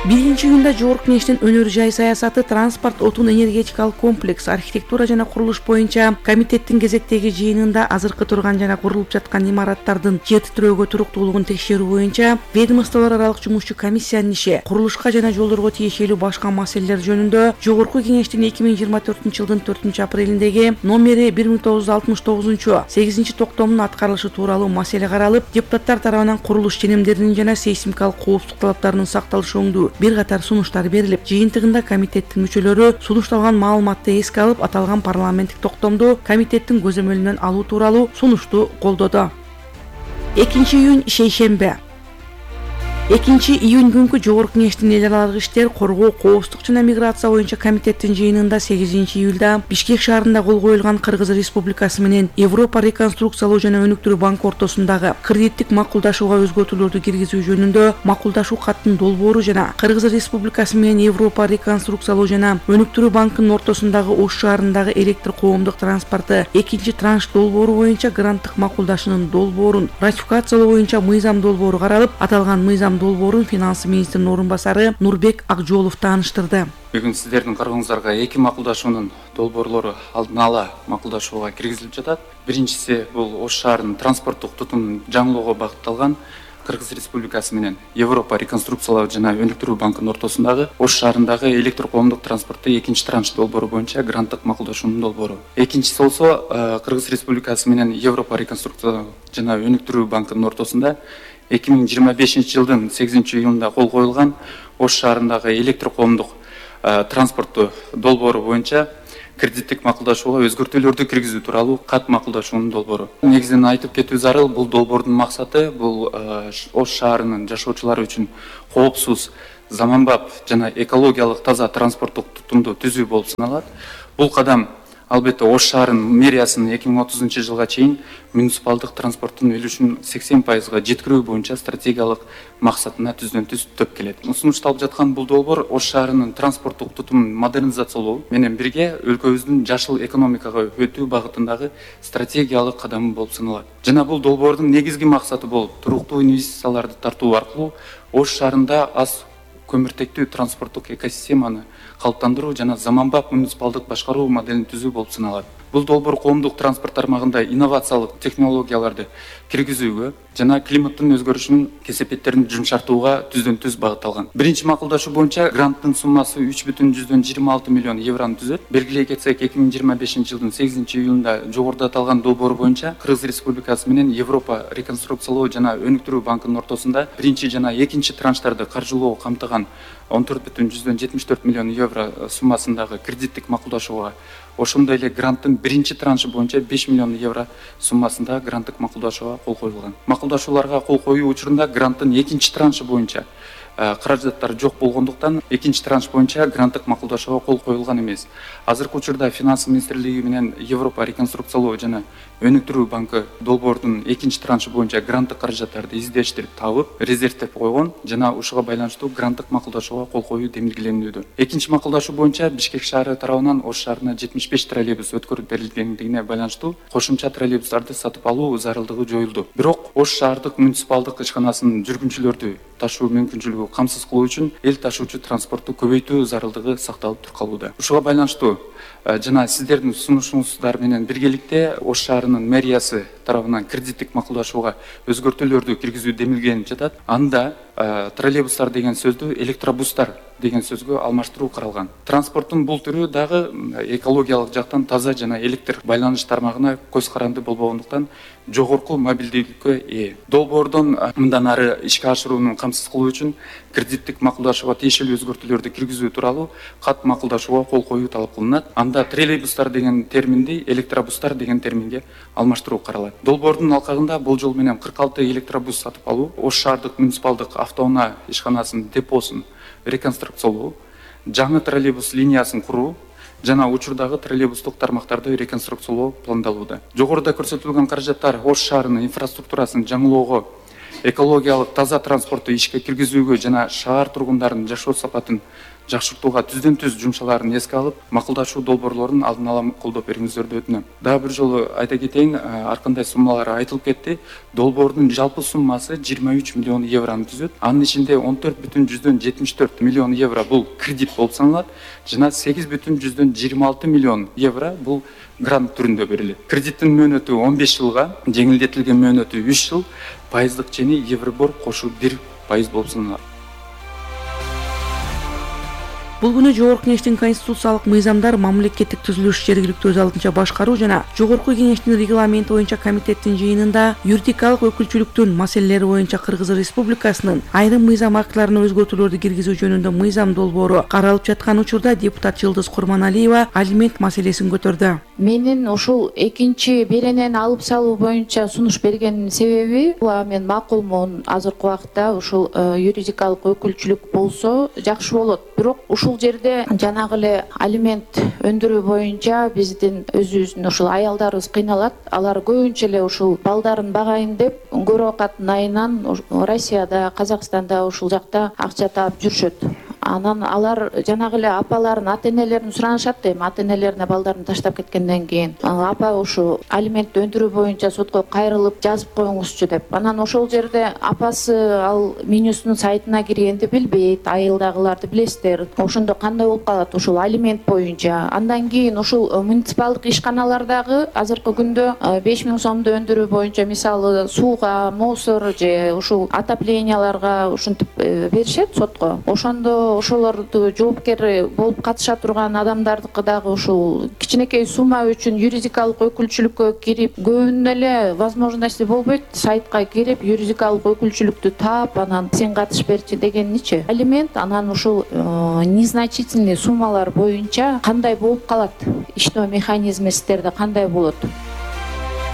[SPEAKER 6] 1-июнда Жогорку Кеңештин өнөр жай саясаты, транспорт, отун энергетикалык комплекс, архитектура жана курулуш боюнча комитеттин кезектеги жыйынында азыркы турган жана курулуп жаткан имараттардын жер титирөөгө туруктуулугун текшерүү боюнча ведомстволор аралык жумушчу комиссиянын иши, курулушка жана жолдорго тиешелүү башка маселелер жөнүндө Жогорку Кеңештин 2024-жылдын 4-апрелиндеги номери 1969 8 токтомунун аткарылышы тууралуу маселе каралып, депутаттар тарабынан курулуш ченемдеринин жана сейсмикалык коопсуздук талаптарынын сакталышы жөнүндө бир катар сунуштар берилип, жыйынтыгында комитеттин мүчөлөрү сунушталган маалыматты эске алып, аталган парламенттик токтомду комитеттин көзөмөлүнөн алуу тууралуу сунушту колдоду. 2-июнь шейшембе. 2-июнь күнкү Жогорку Кеңештин эл аралык иштер, коргоо, коопсуздук жана миграция боюнча комитеттин жыйынында 8-июлда Бишкек шаарында кол коюлган Кыргыз Республикасы менен Европа реконструкциялоо жана өнүктүрүү банкы ортосундагы кредиттик макулдашууга өзгөртүүлөрдү киргизүү жөнүндө макулдашуу каттын долбоору жана Кыргыз Республикасы менен Европа реконструкциялоо жана өнүктүрүү банкынын ортосундагы Ош шаарындагы электр коомдук транспорты 2 транш долбоору боюнча гранттык макулдашуунун долбоорун ратификациялоо боюнча мыйзам долбоору каралып, аталган мыйзам долбоорун финансы министринин орун басары Нурбек Акжолов тааныштырды.
[SPEAKER 16] Бүгүн сиздердин карооңуздарга 2 макулдашуунун долбоорлору алдын ала макулдашууга киргизилип жатат. Биринчиси бул Ош шаарынын транспорттук тутумун жаңылоого багытталган Кыргыз Республикасы менен Европа реконструкциялоо жана өнүктүрүү банкынын ортосундагы Ош шаарындагы электр коомдук транспорту 2 транш долбоору боюнча гранттык макулдашуунун долбоору. Экинчиси болсо Кыргыз Республикасы менен Европа реконструкциялоо жана өнүктүрүү банкынын ортосунда 2025-жылдын 8-июнунда кол коюлган Ош шаарындагы электр коомдук транспортту долбоору боюнча кредиттик макулдашууга өзгөртүүлөрдү киргизүү тууралуу кат макулдашуунун долбоору. Негизинен айтып кетүү зарыл, бул долбоордун максаты бул Ош шаарынын жашоочулары үчүн коопсуз, заманбап жана экологиялык таза транспорттук тутумду түзүү болуп саналат. Бул кадам Албетте Ош шаарынын мэриясынын 2030 жылга чейин муниципалдык транспорттун үлүшүн 80%га жеткирүү боюнча стратегиялык максатына түздөн-түз төп келет. Сунушталып жаткан бул долбоор Ош шаарынын транспорттук тутумун модернизациялоо менен бирге өлкөбүздүн жашыл экономикага өтүү багытындагы стратегиялык кадамы болуп саналат. Жана бул долбоордун негизги максаты болуп туруктуу инвестицияларды тартуу аркылуу Ош шаарында аз көмүртектүү транспорттук экосистеманы калыптандыруу жана заманбап муниципалдык башкаруу моделин түзүү болуп саналат. Бул долбоор коомдук транспорт тармагында инновациялык технологияларды киргизүүгө жана климаттын өзгөрүшүнүн кесепеттерин жумшартууга түздөн-түз багытталган. Биринчи макулдашуу боюнча гранттын суммасы 3,26 миллион еврону түзөт. Белгилей кетсек, 2025 жылдын 8-июлунда жогоруда аталган долбоор боюнча Кыргыз Республикасы менен Европа реконструкциялоо жана өнүктүрүү банкынын ортосунда биринчи жана экинчи транштарды каржылоо камтыган 14,74 миллион евро суммасындагы кредиттик макулдашууга, ошондой эле гранттын биринчи траншы боюнча 5 миллион евро суммасындагы гранттык макулдашууга кол коюлган. Макулдашууларга кол коюу учурунда гранттын экинчи траншы боюнча каражаттар жок болгондуктан экинчи транш боюнча гранттык макулдашууга кол коюлган эмес. Азыркы учурда Финанс министрлиги менен Европа реконструкциялоо жана өнүктүрүү банкы долбоордун экинчи траншы боюнча гранттык каражаттарды издештирип табып, резервтеп койгон жана ушуга байланыштуу гранттык макулдашууга кол коюу демилгеленүүдө. Экинчи макулдашуу боюнча Бишкек шаары тарабынан Ош шаарына 75 троллейбус өткөрүп берилгендигине байланыштуу кошумча троллейбустарды сатып алуу зарылдыгы жоюлду. Бирок Ош шаардык муниципалдык ишканасынын жүргүнчүлөрдү ташуу мүмкүнчүлүгү камсыз кылуу үчүн эл ташуучу транспортту көбөйтүү зарылдыгы сакталып туркалууда. Ушуга байланыштуу жана сиздердин сунушуңуздар менен биргеликте Ош шаарынын мэриясы тарабынан кредиттик макулдашууга өзгөртүүлөрдү киргизүү демилгенип жатат. Анда троллейбустар деген сөздү электробустар деген сөзгө алмаштыруу каралган. Транспорттун бул түрү дагы экологиялык жактан таза жана электр байланыш тармагына көз каранды болбогондуктан жогорку мобилдүүлүккө ээ. Долбоордон мындан ары ишке ашырууну камсыз кылуу үчүн кредиттик макулдашууга тиешелүү өзгөртүүлөрдү киргизүү тууралуу кат макулдашууга кол коюу талап кылынат. Анда троллейбустар деген терминди электробустар деген терминге алмаштыруу каралат. Долбоордун алкагында болжол менен 46 электробус сатып алуу, Ош шаардык муниципалдык автоунаа ишканасынын депосун реконструкциялоо, жаңы троллейбус линиясын куруу жана учурдагы троллейбустук тармактарды реконструкциялоо пландалууда. Жогоруда көрсөтүлгөн каражаттар Ош шаарынын инфраструктурасын жаңылоого, экологиялык таза транспортту ишке киргизүүгө жана шаар тургундарынын жашоо сапатын жакшыртууга түздөн-түз жумшаларын эске алып, макулдашуу долбоорлорун алдын ала колдоп бериңиздерди өтүнөм. Дагы бир жолу айта кетейин, ар кандай суммалар айтылып кетти. Долбоордун жалпы суммасы 23 миллион еврону түзөт. Анын ичинде 14,74 миллион евро бул кредит болуп саналат, жана 8,26 миллион евро бул грант түрүндө берилет. Кредиттин мөөнөтү 15 жылга, жеңилдетилген мөөнөтү 3 жыл, пайыздык чени Евробор кошу 1% болуп саналат.
[SPEAKER 6] Бул күнү Жогорку Кеңештин конституциялык мыйзамдар, мамлекеттик түзүлүш, жергиликтүү өз алдынча башкаруу жана Жогорку Кеңештин регламенти боюнча комитеттин жыйынында юридикалык өкүлчүлүктүн маселелери боюнча Кыргыз Республикасынын айрым мыйзам актыларына өзгөртүүлөрдү киргизүү жөнүндө мыйзам долбоору каралып жаткан учурда депутат Жылдыз Курманалиева алимент маселесин көтөрдү.
[SPEAKER 17] Менин ушул экинчи беренени алып салуу боюнча сунуш берген себеби, мен макулмун, азыркы убакытта ушул юридикалык өкүлчүлүк болсо жакшы болот. Бирок ушул жерде жанагы эле алимент өндүрүү боюнча биздин өзүбүздүн ушул аялдарыбыз кыйналат. Алар көбүнчө эле ушул балдарын багайын деп көрө окаттын айынан Россияда, Казакстанда ушул жакта акча таап жүрүшөт. Анан алар жанагы эле апаларын, ата-энелерин суранышат, эми ата-энелерине балдарын таштап кеткенден кийин, апа ушу алимент өндүрүү боюнча сотко кайрылып жазып коюңузчу деп. Анан ошол жерде апасы ал менюсунун сайтына киргенди билбейт, айылдагыларды билесиздер. Ошондо кандай болуп калат ушул алимент боюнча. Андан кийин ушул муниципалдык ишканалардагы азыркы күндө 5000 сомду өндүрүү боюнча мисалы сууга, мусор же ушул отопленияларга ушинтип беришет сотко. Ошондо ошолорду жоопкер болуп катыша турган адамдардыкы дагы ушул кичинекей сумма үчүн юридикалык өкүлчүлүккө кирип, көбүнүн эле возможности болбойт, сайтка кирип юридикалык өкүлчүлүктү таап, анан сен катыш берчи дегенничи. Алимент анан ушул незначительный суммалар боюнча кандай болуп калат? Иштөө механизми сиздерде кандай болот?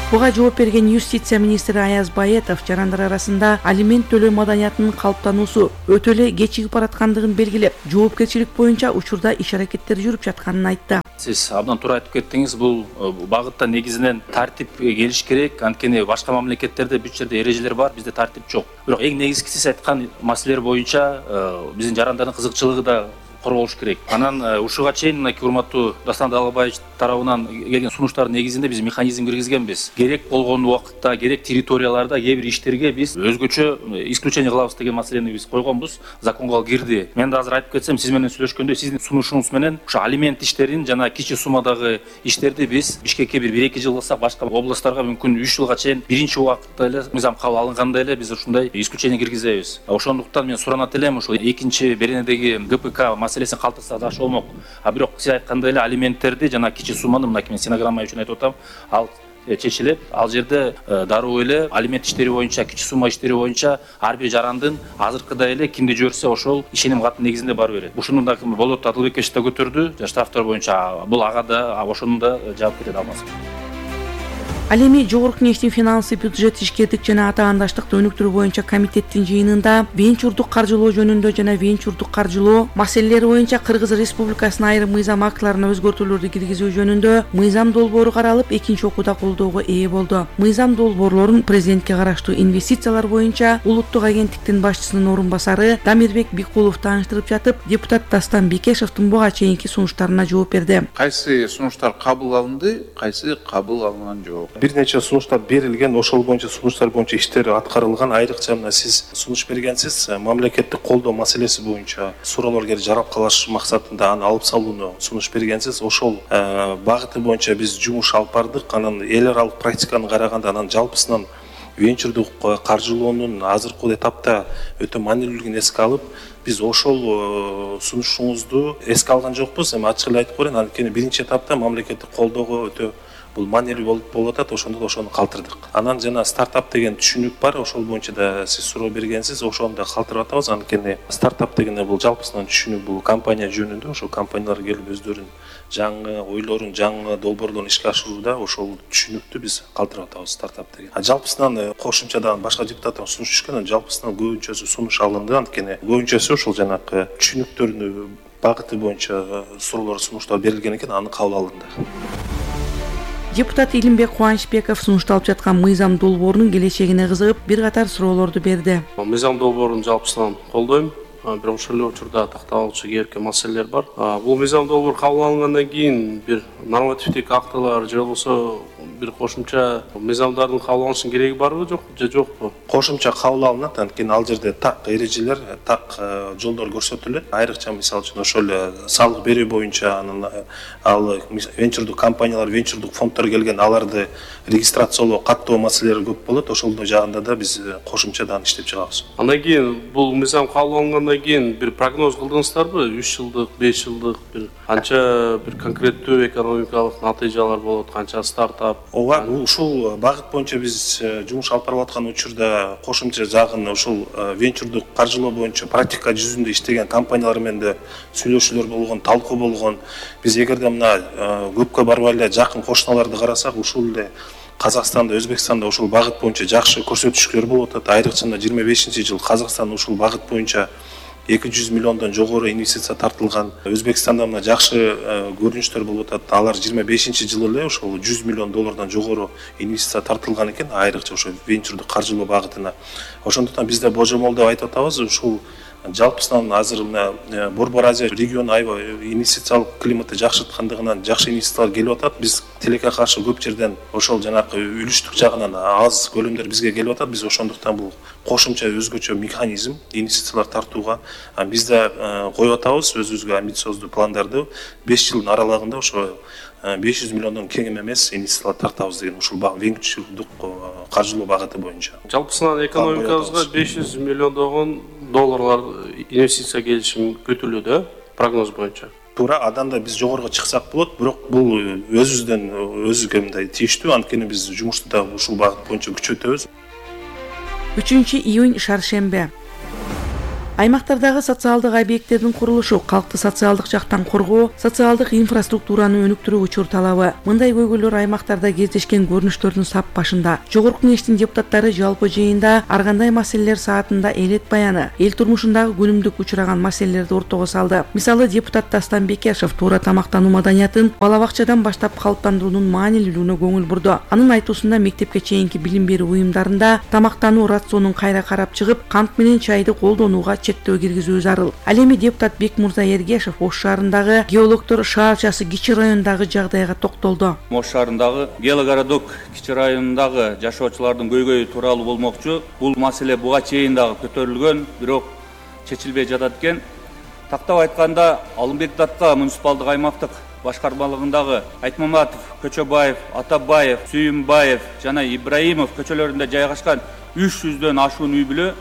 [SPEAKER 6] Буга жооп берген юстиция министри Аяз Баетов жарандар арасында алимент төлөө маданиятынын калыптануусу өтө эле кечигип бараткандыгын белгилеп, жоопкерчилик боюнча учурда иш-аракеттер жүрүп жатканын айтты.
[SPEAKER 18] Сиз абдан туура айтып кеттиңиз. Бул багытта негизинен тартип келиш керек. Анткени башка мамлекеттерде бүт жерде эрежелер бар, бизде тартип жок. Бирок эң негизгиси сиз айткан маселелер боюнча биздин жарандардын кызыкчылыгы да корголуш керек. Анан ушуга чейин мына урматтуу Дастан Далабаевич тарабынан келген сунуштардын негизинде биз механизм киргизгенбиз. Керек болгон убакытта, керек территорияларда кээ бир иштерге биз өзгөчө исключение кылабыз деген маселени биз койгонбуз. Законго кирди. Мен да азыр айтып кетсем, сиз менен сүйлөшкөндө сиздин сунушуңуз менен ушу алимент иштерин жана кичи суммадагы иштерди биз Бишкекке 1-2 жыл кылсак, башка областтарга мүмкүн 3 жылга чейин биринчи убакытта эле мыйзам кабыл алынганда эле биз ушундай исключение киргизебиз. Ошондуктан мен суранат элем, ушул экинчи беренедеги ГПК маселесин калтырса жакшы болмок. Бирок сиз айткандай эле алименттерди жана кичи сумманы, мына мен стенограмма үчүн айтып атам, ал чечилет. Ал жерде дароо эле алимент иштери боюнча, кичи сумма иштери боюнча ар бир жарандын азыркыдай эле кимди жиберсе ошол ишеним каты негизинде барып берет. Ушуну да Болот Адылбекович да көтөрдү. Штрафтар боюнча бул ага да ошону да жаап кетет алмас.
[SPEAKER 6] Ал эми Жогорку Кеңештин финансы, бюджет, ишкердик жана атаандаштыкты өнүктүрүү боюнча комитеттин жыйынында венчурдук каржылоо жөнүндө жана венчурдук каржылоо маселелери боюнча Кыргыз Республикасынын айрым мыйзам актыларына өзгөртүүлөрдү киргизүү жөнүндө мыйзам долбоору каралып, экинчи окууда колдоого ээ болду. Мыйзам долбоорлорун президентке караштуу инвестициялар боюнча улуттук агенттиктин башчысынын орун басары Дамирбек Бикулов тааныштырып жатып, депутат Дастан Бекешевдин буга чейинки сунуштарына жооп берди.
[SPEAKER 9] Кайсы сунуштар кабыл алынды, кайсы кабыл алынган жок.
[SPEAKER 5] Бир нече сунуштар берилген, ошол боюнча сунуштар боюнча иштер аткарылган. Айрыкча мына сиз сунуш бергенсиз, мамлекеттик колдоо маселеси боюнча суроолор келип жараткалаш максатында аны алып салууну сунуш бергенсиз. Ошол багыты боюнча биз жумуш алып бардык. Анан эл аралык практиканы караганда анан жалпысынан венчурдук каржылоонун азыркы этапта өтө маанилүүлүгүн эске алып, биз ошол сунушуңузду эске алган жокпуз. Эми ачык эле айтып коеюн, анткени биринчи этапта мамлекеттик колдоого өтө бул маанилүү болуп атат, ошондо да ошону калтырдык. Анан жана стартап деген түшүнүк бар, ошол боюнча да сиз суроо бергенсиз, ошону да калтырып атабыз. Анткени стартап дегенде бул жалпысынан түшүнүк, бул компания жөнүндө, ошол компаниялар келип өздөрүнүн жаңы ойлорун, жаңы долбоорлорун ишке ашырууда ошол түшүнүктү биз калтырып атабыз, стартап деген. Жалпысынан кошумчадан башка депутаттар сунуш түшкөн, жалпысынан көбүнчөсү сунуш алынды, анткени көбүнчөсү ошол жанагы түшүнүктөрүнүн багыты боюнча суроолор, сунуштар берилген экен, аны кабыл алынды.
[SPEAKER 6] Депутат Илимбек Кубанычбеков сунушталып жаткан мыйзам долбоорунун келечегине кызыгып, бир катар суроолорду берди.
[SPEAKER 19] Мыйзам долбоорун жалпысынан колдойм. Бирок ошол эле учурда такталуучу кээ бир маселелер бар. Бул мыйзам долбоор кабыл алынгандан кийин бир нормативдик актылар же болбосо бир кошумча мыйзамдардын кабыл алынышынын кереги барбы, же жокпу?
[SPEAKER 5] Кошумча кабыл алынат, анткени ал жерде так эрежелер, так жолдор көрсөтүлөт. Айрыкча мисалы үчүн ошол салык берүү боюнча анан ал венчурдук компаниялар, венчурдук фонддор келген, аларды регистрациялоо, каттоо маселелери көп болот. Ошол жагында да биз кошумчадан иштеп чыгабыз.
[SPEAKER 19] Андан кийин бул мыйзам кабыл алынгандан кийин бир прогноз кылдыңыздарбы? 3 жылдык, 5 жылдык бир канча бир конкреттүү экономикалык натыйжалар болот, канча стартап?
[SPEAKER 5] Ооба, ушул багыт боюнча биз жумуш алып барып аткан учурда кошумча жагын ушул венчурдук каржылоо боюнча практика жүзүндө иштеген компаниялар менен да сүйлөшүүлөр болгон, талкуу болгон. Биз эгерде мына көпкө барбай эле жакын кошуналарды карасак, ушул эле Казакстанда, Өзбекстанда ушул багыт боюнча жакшы көрсөтүштөр болуп атат. Айрыкча 25-жыл Казакстан ушул багыт боюнча 200 миллиондон жогору инвестиция тартылган. Өзбекстанда мына жакшы көрүнүштөр болуп атат. Алар 25-жылы эле ошол 100 миллион доллардан жогору инвестиция тартылган экен, айрыкча ошо венчурдук каржылоо багытына. Ошондуктан бизде божомолдоп айтып атабыз, ушул жалпысынан азыр мына Борбор Азия региону аябай инвестициялык климаты жакшырткандыгынан жакшы инвестициялар келип атат. Биз тилекке каршы көп жерден ошол жанагы үлүштүк жагынан аз көлөмдөр бизге келип атат. Биз ошондуктан бул кошумча өзгөчө механизм инвестициялар тартууга биз да коюп атабыз өзүбүзгө амбициоздуу пландарды. 5 жылдын аралыгында ошо 500 миллиондон кем эмес инвестициялар тартабыз деген ушул венчурдук каржылоо багыты боюнча.
[SPEAKER 19] Жалпысынан экономикабызга 500 миллиондогон долларлар инвестиция келиши күтүлүүдө, прогноз боюнча.
[SPEAKER 5] Туура, андан да биз жогору чыксак болот, бирок бул өзүбүздөн өзүгө мындай тийиштүү, анткени биз жумушту да ушул багыт боюнча күчөтөбүз.
[SPEAKER 6] 3 июнь шаршембе. Аймактардагы социалдык объекттердин курулушу, калкты социалдык жактан коргоо, социалдык инфраструктураны өнүктүрүү учур талабы. Мындай көйгөйлөр аймактарда кездешкен көрүнүштөрдүн сап башында. Жогорку Кеңештин депутаттары жалпы жыйында ар кандай маселелер саатында элет баяны, эл турмушундагы күнүмдүк учураган маселелерди ортого салды. Мисалы, депутат Дастан Бекешев туура тамактануу маданиятын бала бакчадан баштап калыптандыруунун маанилүүлүгүнө көңүл бурду. Анын айтуусунда мектепке чейинки билим берүү уюмдарында тамактануу рационун кайра карап чыгып, кант менен чайды колдонууга чектөө киргизүү зарыл. Ал эми депутат Бекмурза Эргешев Ош шаарындагы геологдор шаарчасы Кичи районундагы жагдайга токтолду.
[SPEAKER 20] Ош шаарындагы Геологородок кичи районундагы жашоочулардын көйгөйү тууралуу болмокчу. Бул маселе буга чейин дагы көтөрүлгөн, бирок чечилбей жатат экен. Тактап айтканда, Алымбек Датка муниципалдык аймактык башкармалыгындагы Айтмаматов, Көчөбаев, Атабаев, Сүйүмбаев жана Ибраимов көчөлөрүндө жайгашкан 300дөн ашуун үй бүлө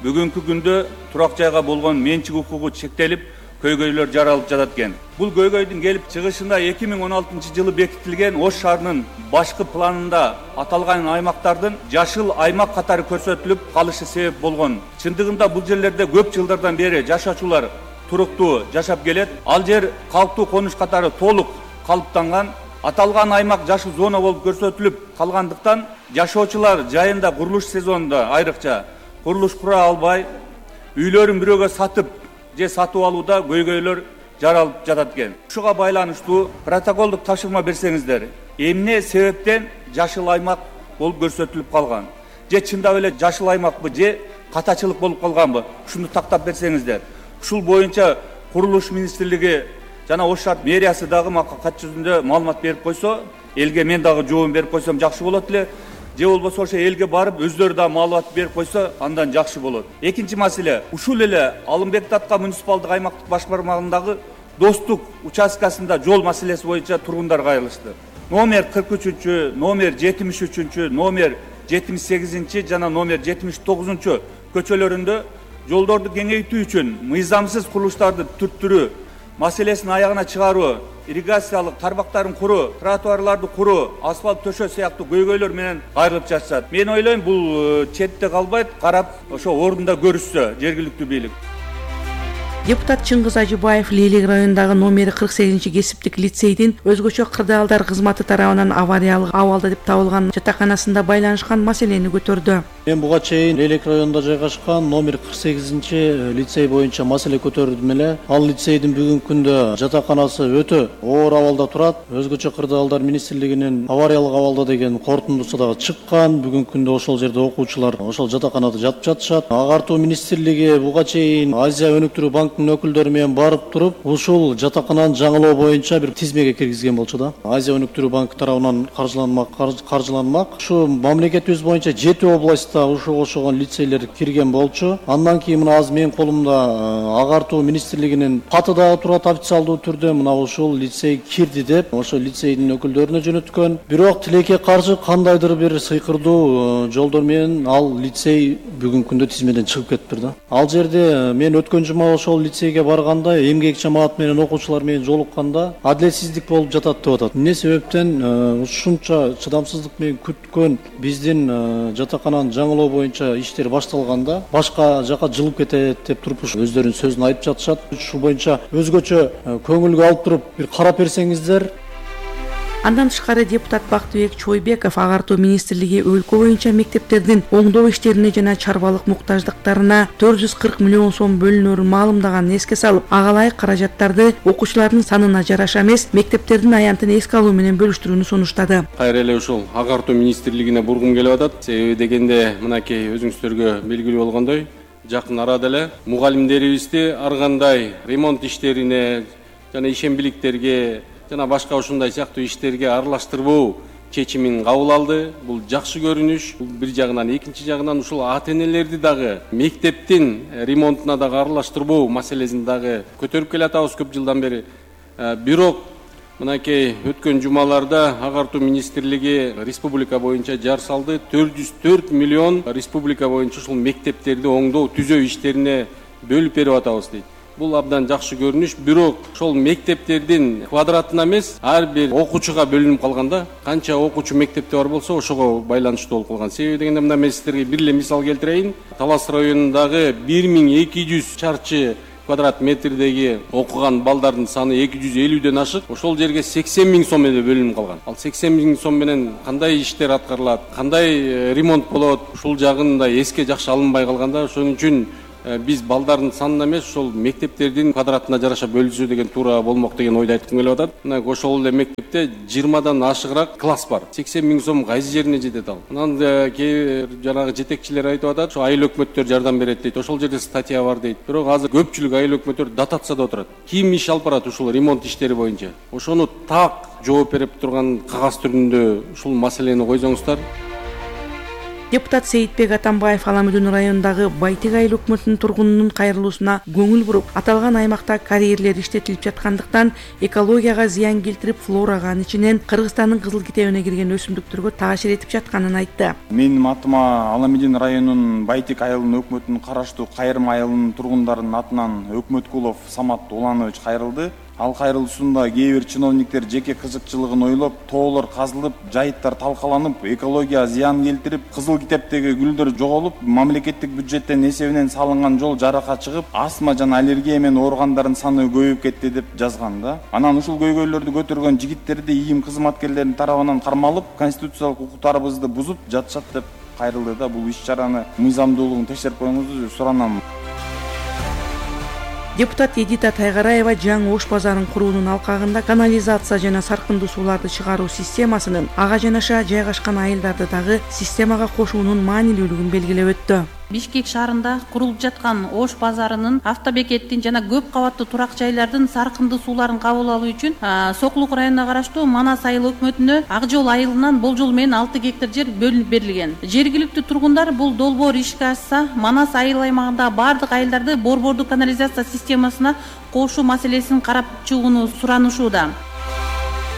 [SPEAKER 20] бүгүнкү күндө турак жайга болгон менчик укугу чектелип, көйгөйлөр жаралып жатат экен. Бул көйгөйдүн келип чыгышында 2016 жылы бекитилген Ош шаарынын башкы планында аталган аймактардын жашыл аймак катары көрсөтүлүп калышы себеп болгон. Чындыгында бул жерлерде көп жылдардан бери жашоочулар туруктуу жашап келет. Ал жер калктуу конуш катары толук калыптанган. Аталган аймак жашыл зона болуп көрсөтүлүп калгандыктан жашоочулар жайында курулуш сезонунда айрыкча курулуш кура албай, үйлөрүн бирөөгө сатып же сатып алууда көйгөйлөр жаралып жатат экен. Ушуга байланыштуу протоколдук тапшырма берсеңиздер, эмне себептен жашыл аймак болуп көрсөтүлүп калган? Же чындап эле жашыл аймакпы же катачылык болуп калганбы? Ушуну тактап берсеңиздер. Ушул боюнча курулуш министрлиги жана Ош шаар мэриясы дагы мага кат жүзүндө маалымат берип койсо, элге мен дагы жообун берип койсом жакшы болот эле. Же болбосо ошо элге барып өздөрү да маалымат берип койсо, андан жакшы болот. Экинчи маселе, ушул эле Алымбек Датка муниципалдык аймактык башкармалыгындагы Достук участкасында жол маселеси боюнча тургундар кайрылышты. Номер 43-чү, номер 73-чү, номер 78-чи жана номер 79-чу көчөлөрүндө жолдорду кеңейтүү үчүн мыйзамсыз курулуштарды түрттүрүү маселесин аягына чыгаруу, ирригациялык тармактарын куруу, тротуарларды куруу, асфальт төшөө сыяктуу көйгөйлөр менен кайрылып жатышат. Мен ойлойм, бул четте калбайт, карап, ошо ордунда көрүшсө жергиликтүү бийлик.
[SPEAKER 6] Депутат Чыңгыз Ажыбаев Лейлек районундагы номери 48 кесиптик лицейдин өзгөчө кырдаалдар кызматы тарабынан авариялык абалда деп табылган жатаканасында байланышкан маселени көтөрдү.
[SPEAKER 21] Мен буга чейин Лейлек районунда жайгашкан номер 48 лицей боюнча маселе көтөрдүм эле. Ал лицейдин бүгүнкү күндө жатаканасы өтө оор абалда турат. Өзгөчө кырдаалдар министрлигинин авариялык абалда деген корутундусу дагы чыккан. Бүгүнкү күндө ошол жерде окуучулар ошол жатаканада жатып жатышат. Агартуу министрлиги буга чейин Азия өнүктүрүү банк өкүлдөрү менен барып туруп, ушул жатакананы жаңылоо боюнча бир тизмеге киргизген болчу да. Азия өнүктүрүү банкы тарабынан каржыланмак. Ушу мамлекетибиз боюнча 7 областта ушуга окшогон лицейлер кирген болчу. Андан кийин мына азыр менин колумда агартуу министрлигинин каты дагы турат официалдуу түрдө, мына ушул лицей кирди деп, ошо лицейдин өкүлдөрүнө жөнөткөн. Бирок тилекке каршы кандайдыр бир сыйкырдуу жолдор менен ал лицей бүгүнкү күндө тизмеден чыгып кетиптир да. Ал жерде мен өткөн жума ошол лицейге барганда, эмгек жамаат менен окуучулар менен жолукканда адилетсиздик болуп жатат деп атат. Эмне себептен ушунча чыдамсыздык менен күткөн биздин жатакананын жаңылоо боюнча иштер башталганда башка жака жылып кетет деп туруп өздөрүнүн сөзүн айтып жатышат. Ушул боюнча өзгөчө көңүлгө алып туруп бир карап берсеңиздер.
[SPEAKER 6] Андан тышкары депутат Бактыбек Чойбеков агартуу министрлиги өлкө боюнча мектептердин оңдоо иштерине жана чарбалык муктаждыктарына 440 миллион сом бөлүнөрүн маалымдаганын эске салып, ага ылайык каражаттарды окуучулардын санына жараша эмес, мектептердин аянтын эске алуу менен бөлүштүрүүнү сунуштады.
[SPEAKER 22] Кайра эле ушул агартуу министрлигине бургум келип атат. Себеби дегенде мынакей өзүңүздөргө белгилүү болгондой, жакын арада эле мугалимдерибизди ар кандай ремонт иштерине жана ишембиликтерге жана башка ушундай сыяктуу иштерге аралаштырбоо чечимин кабыл алды. Бул жакшы көрүнүш. Бул бир жагынан, экинчи жагынан ушул ата-энелерди дагы мектептин ремонтуна дагы аралаштырбоо маселесин дагы көтөрүп келатабыз көп жылдан бери. Бирок мынакей өткөн жумаларда агартуу министрлиги республика боюнча жар салды. 404 миллион республика боюнча ушул мектептерди оңдоо, түзөө иштерине бөлүп берип атабыз дейт. Бул абдан жакшы көрүнүш. Бирок ошол мектептердин квадратына эмес, ар бир окуучуга бөлүнүп калганда, канча окуучу мектепте бар болсо, ошого байланыштуу болуп калган. Себеби дегенде мында мен сиздерге бир эле мисал келтирейин. Талас районундагы 1200 чарчы квадрат метрдеги окуган балдардын саны 250ден ашык. Ошол жерге 80 000 сом менен бөлүнүп калган. Ал 80 000 сом менен кандай иштер аткарылат, кандай ремонт болот, ушул жагында эске жакшы алынбай калганда, ошон үчүн биз балдардын санына эмес, ошол мектептердин квадратына жараша бөлүнсө деген туура болмок деген ойду айткым келип атат. Мына ошол эле мектепте 20дан ашыгыраак класс бар. 80 000 сом кайсы жерине жетет ал? Анан кээ бир жанагы жетекчилер айтып атат, ошо айыл өкмөттөр жардам берет дейт. Ошол жерде статья бар дейт. Бирок азыр көпчүлүк айыл өкмөттөр дотацияда отурат. Ким иш алып барат ушул ремонт иштери боюнча? Ошону так жооп берип турган кагаз түрүндө ушул маселени койсоңуздар.
[SPEAKER 6] Депутат Сейитбек Атамбаев Аламүдүн районундагы Байтек айыл өкмөтүнүн тургунунун кайрылуусуна көңүл буруп, аталган аймакта карьерлер иштетилип жаткандыктан экологияга зыян келтирип, флорага анын ичинен Кыргызстандын кызыл китебине кирген өсүмдүктөргө таасир этип жатканын айтты.
[SPEAKER 1] Менин атыма Аламүдүн районунун Байтек айылынын өкмөтүнүн караштуу Кайрым айылынын тургундарынын атынан Өкмөткулов Самат Уланович кайрылды. Ал кайрылуусунда кээ бир чиновниктер жеке кызыкчылыгын ойлоп, тоолор казылып, жайыттар талкаланып, экология зыян келтирип, кызыл китептеги гүлдөр жоголуп, мамлекеттик бюджеттен эсебинен салынган жол жаракка чыгып, астма жана аллергия менен ооругандардын саны көбөйүп кетти деп жазган да. Анан ушул көйгөйлөрдү көтөргөн жигиттерди ИИМ кызматкерлеринин тарабынан кармалып, конституциялык укуктарыбызды бузуп жатышат деп кайрылды да. Бул иш-чараны мыйзамдуулугун текшерип коюңузду суранам.
[SPEAKER 6] Депутат Эдита Тайгараева жаңы Ош базарын куруунун алкагында канализация жана саркындуу сууларды чыгаруу системасынын ага жанаша жайгашкан айылдарды дагы системага кошуунун маанилүүлүгүн белгилеп өттү.
[SPEAKER 13] Бишкек шаарында курулуп жаткан Ош базарынын автобекеттин жана көп кабаттуу турак жайлардын саркындуу сууларын кабыл алуу үчүн Сокулук районуна караштуу Манас айыл өкмөтүнө Ак жол айылынан болжол менен 6 гектар жер бөлүнүп берилген. Жергиликтүү тургундар бул долбоор ишке ашса, Манас айыл аймагындагы бардык айылдарды борбордук канализация системасына кошуу маселесин карап чыгууну суранышууда.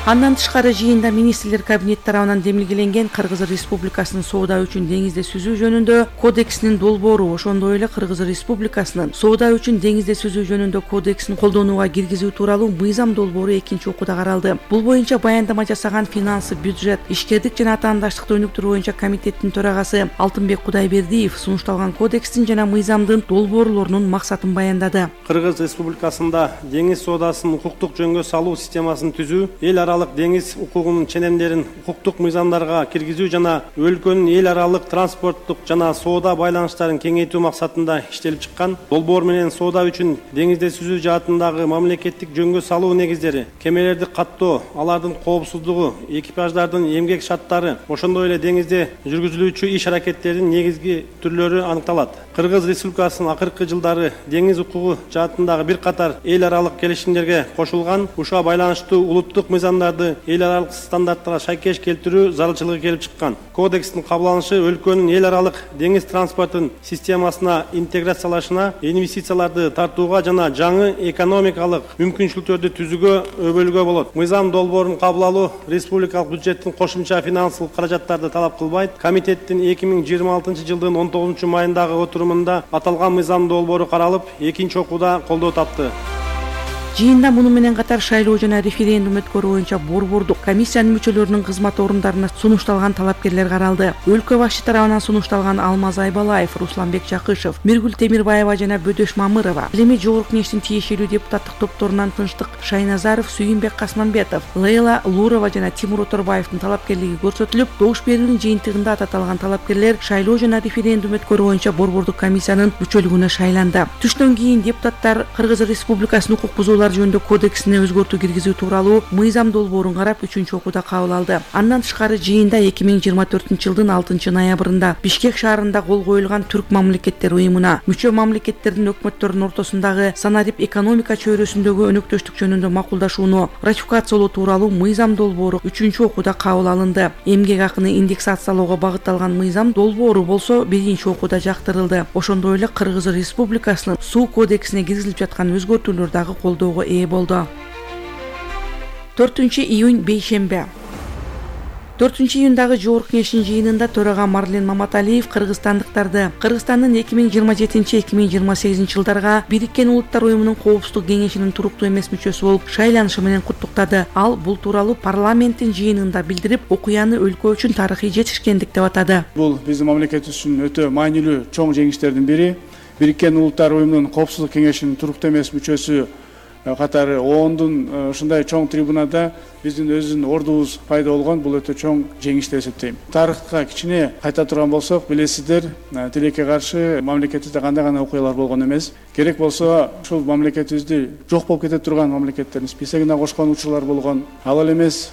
[SPEAKER 13] Андан тышкары жыйында министрлер кабинети тарабынан демилгеленген Кыргыз Республикасынын соода үчүн деңизде сүзүү жөнүндө кодексинин долбоору, ошондой эле Кыргыз Республикасынын соода үчүн деңизде сүзүү жөнүндө кодексин колдонууга киргизүү тууралуу мыйзам долбоору экинчи окууда каралды. Бул боюнча баяндама жасаган финансы, бюджет, ишкердик жана атаандаштыкты өнүктүрүү боюнча комитеттин төрагасы Алтынбек Кудайбердиев сунушталган кодекстин жана мыйзамдын долбоорлорунун максатын баяндады.
[SPEAKER 3] Кыргыз Республикасында деңиз соодасын укуктук жөнгө салуу системасын түзүү, эл аралык деңиз укугунун ченемдерин укуктук мыйзамдарга киргизүү жана өлкөнүн эл аралык транспорттук жана соода байланыштарын кеңейтүү максатында иштелип чыккан. Долбоор менен соода үчүн деңизде сүзүү жаатындагы мамлекеттик жөнгө салуу негиздери, кемелерди каттоо, алардын коопсуздугу, экипаждардын эмгек шарттары, ошондой эле деңизде жүргүзүлүүчү иш аракеттердин негизги түрлөрү аныкталат. Кыргыз Республикасынын акыркы жылдары деңиз укугу жаатындагы бир катар эл аралык келишимдерге кошулган, ушуга байланыштуу улуттук мыйзамдарды эл аралык стандарттарга шайкеш келтирүү зарылчылыгы келип чыккан. Кодекстин кабыл алынышы өлкөнүн эл аралык деңиз транспортун системасына интеграциялашына, инвестицияларды тартууга жана жаңы экономикалык мүмкүнчүлүктөрдү түзүүгө өбөлгө болот. Мыйзам долбоорун кабыл алуу республикалык бюджеттин кошумча финансылык каражаттарды талап кылбайт. Комитеттин 2026 жылдын 19 майындагы отурумунда аталган мыйзам долбоору каралып, экинчи окууда колдоо тапты.
[SPEAKER 6] Жыйында муну менен катар шайлоо жана референдум өткөрүү боюнча борбордук комиссиянын мүчөлөрүнүн кызмат орундарына сунушталган талапкерлер каралды. Өлкө башчы тарабынан сунушталган Алмаз Айбалаев, Русланбек Жакышев, Миргүл Темирбаева жана Бөдөш Мамырова, Элеми Жогорку Кеңештин тиешелүү депутаттык топторунан Тынчтык Шайназаров, Сүйүнбек Касманбетов, Лейла Лурова жана Тимур Оторбаевдин талапкерлиги көрсөтүлүп, добуш берүүнүн жыйынтыгында аталган талапкерлер шайлоо жана референдум өткөрүү боюнча борбордук комиссиянын мүчөлүгүнө шайланды. Түштөн кийин депутаттар Кыргыз Республикасынын укук бузуулар жөнүндө кодексине өзгөртүү киргизүү тууралуу мыйзам долбоорун карап 3-окууда кабыл алды. Андан тышкары жыйында 2024 жылдын 6 ноябрында Бишкек шаарында кол коюлган Түрк мамлекеттер уюмуна мүчө мамлекеттердин өкмөттөрүнүн ортосундагы санарип экономика чөйрөсүндөгү өнөктөштүк жөнүндө макулдашууну ратификациялоо тууралуу мыйзам долбоору 3-окууда кабыл алынды. Эмгек акыны индексациялоого багытталган мыйзам долбоору болсо 1-окууда жактырылды. Ошондой эле Кыргыз Республикасынын суу кодексине киргизилип жаткан өзгөртүүлөр дагы колдоого ээ болду. 4 июнь бейшембе. 4-июндагы жогорку кеңештин жыйынында төрага Марлен Маматалиев кыргызстандыктарды Кыргызстандын 2027-2028 жылдарга Бириккен Улуттар Уюмунун Коопсуздук кеңешинин туруктуу эмес мүчөсү болуп шайланышы менен куттуктады. Ал бул тууралуу парламенттин жыйынында билдирип, окуяны өлкө үчүн тарыхый жетишкендик деп атады.
[SPEAKER 2] Бул биздин мамлекетибиз үчүн өтө маанилүү чоң жеңиштердин бири. Бириккен Улуттар Уюмунун Коопсуздук кеңешинин туруктуу эмес мүчөсү катары ООНдун ушундай чоң трибунада биздин өзүнүн ордубуз пайда болгон, бул өтө чоң жеңиш деп эсептейм. Тарыхка кичине кайта турган болсок, билесиздер, тилекке каршы мамлекетибизде кандай гана окуялар болгон эмес. Керек болсо ушул мамлекетибизди жок болуп кете турган мамлекеттердин списогуна кошкон учурлар болгон. Ал эле эмес,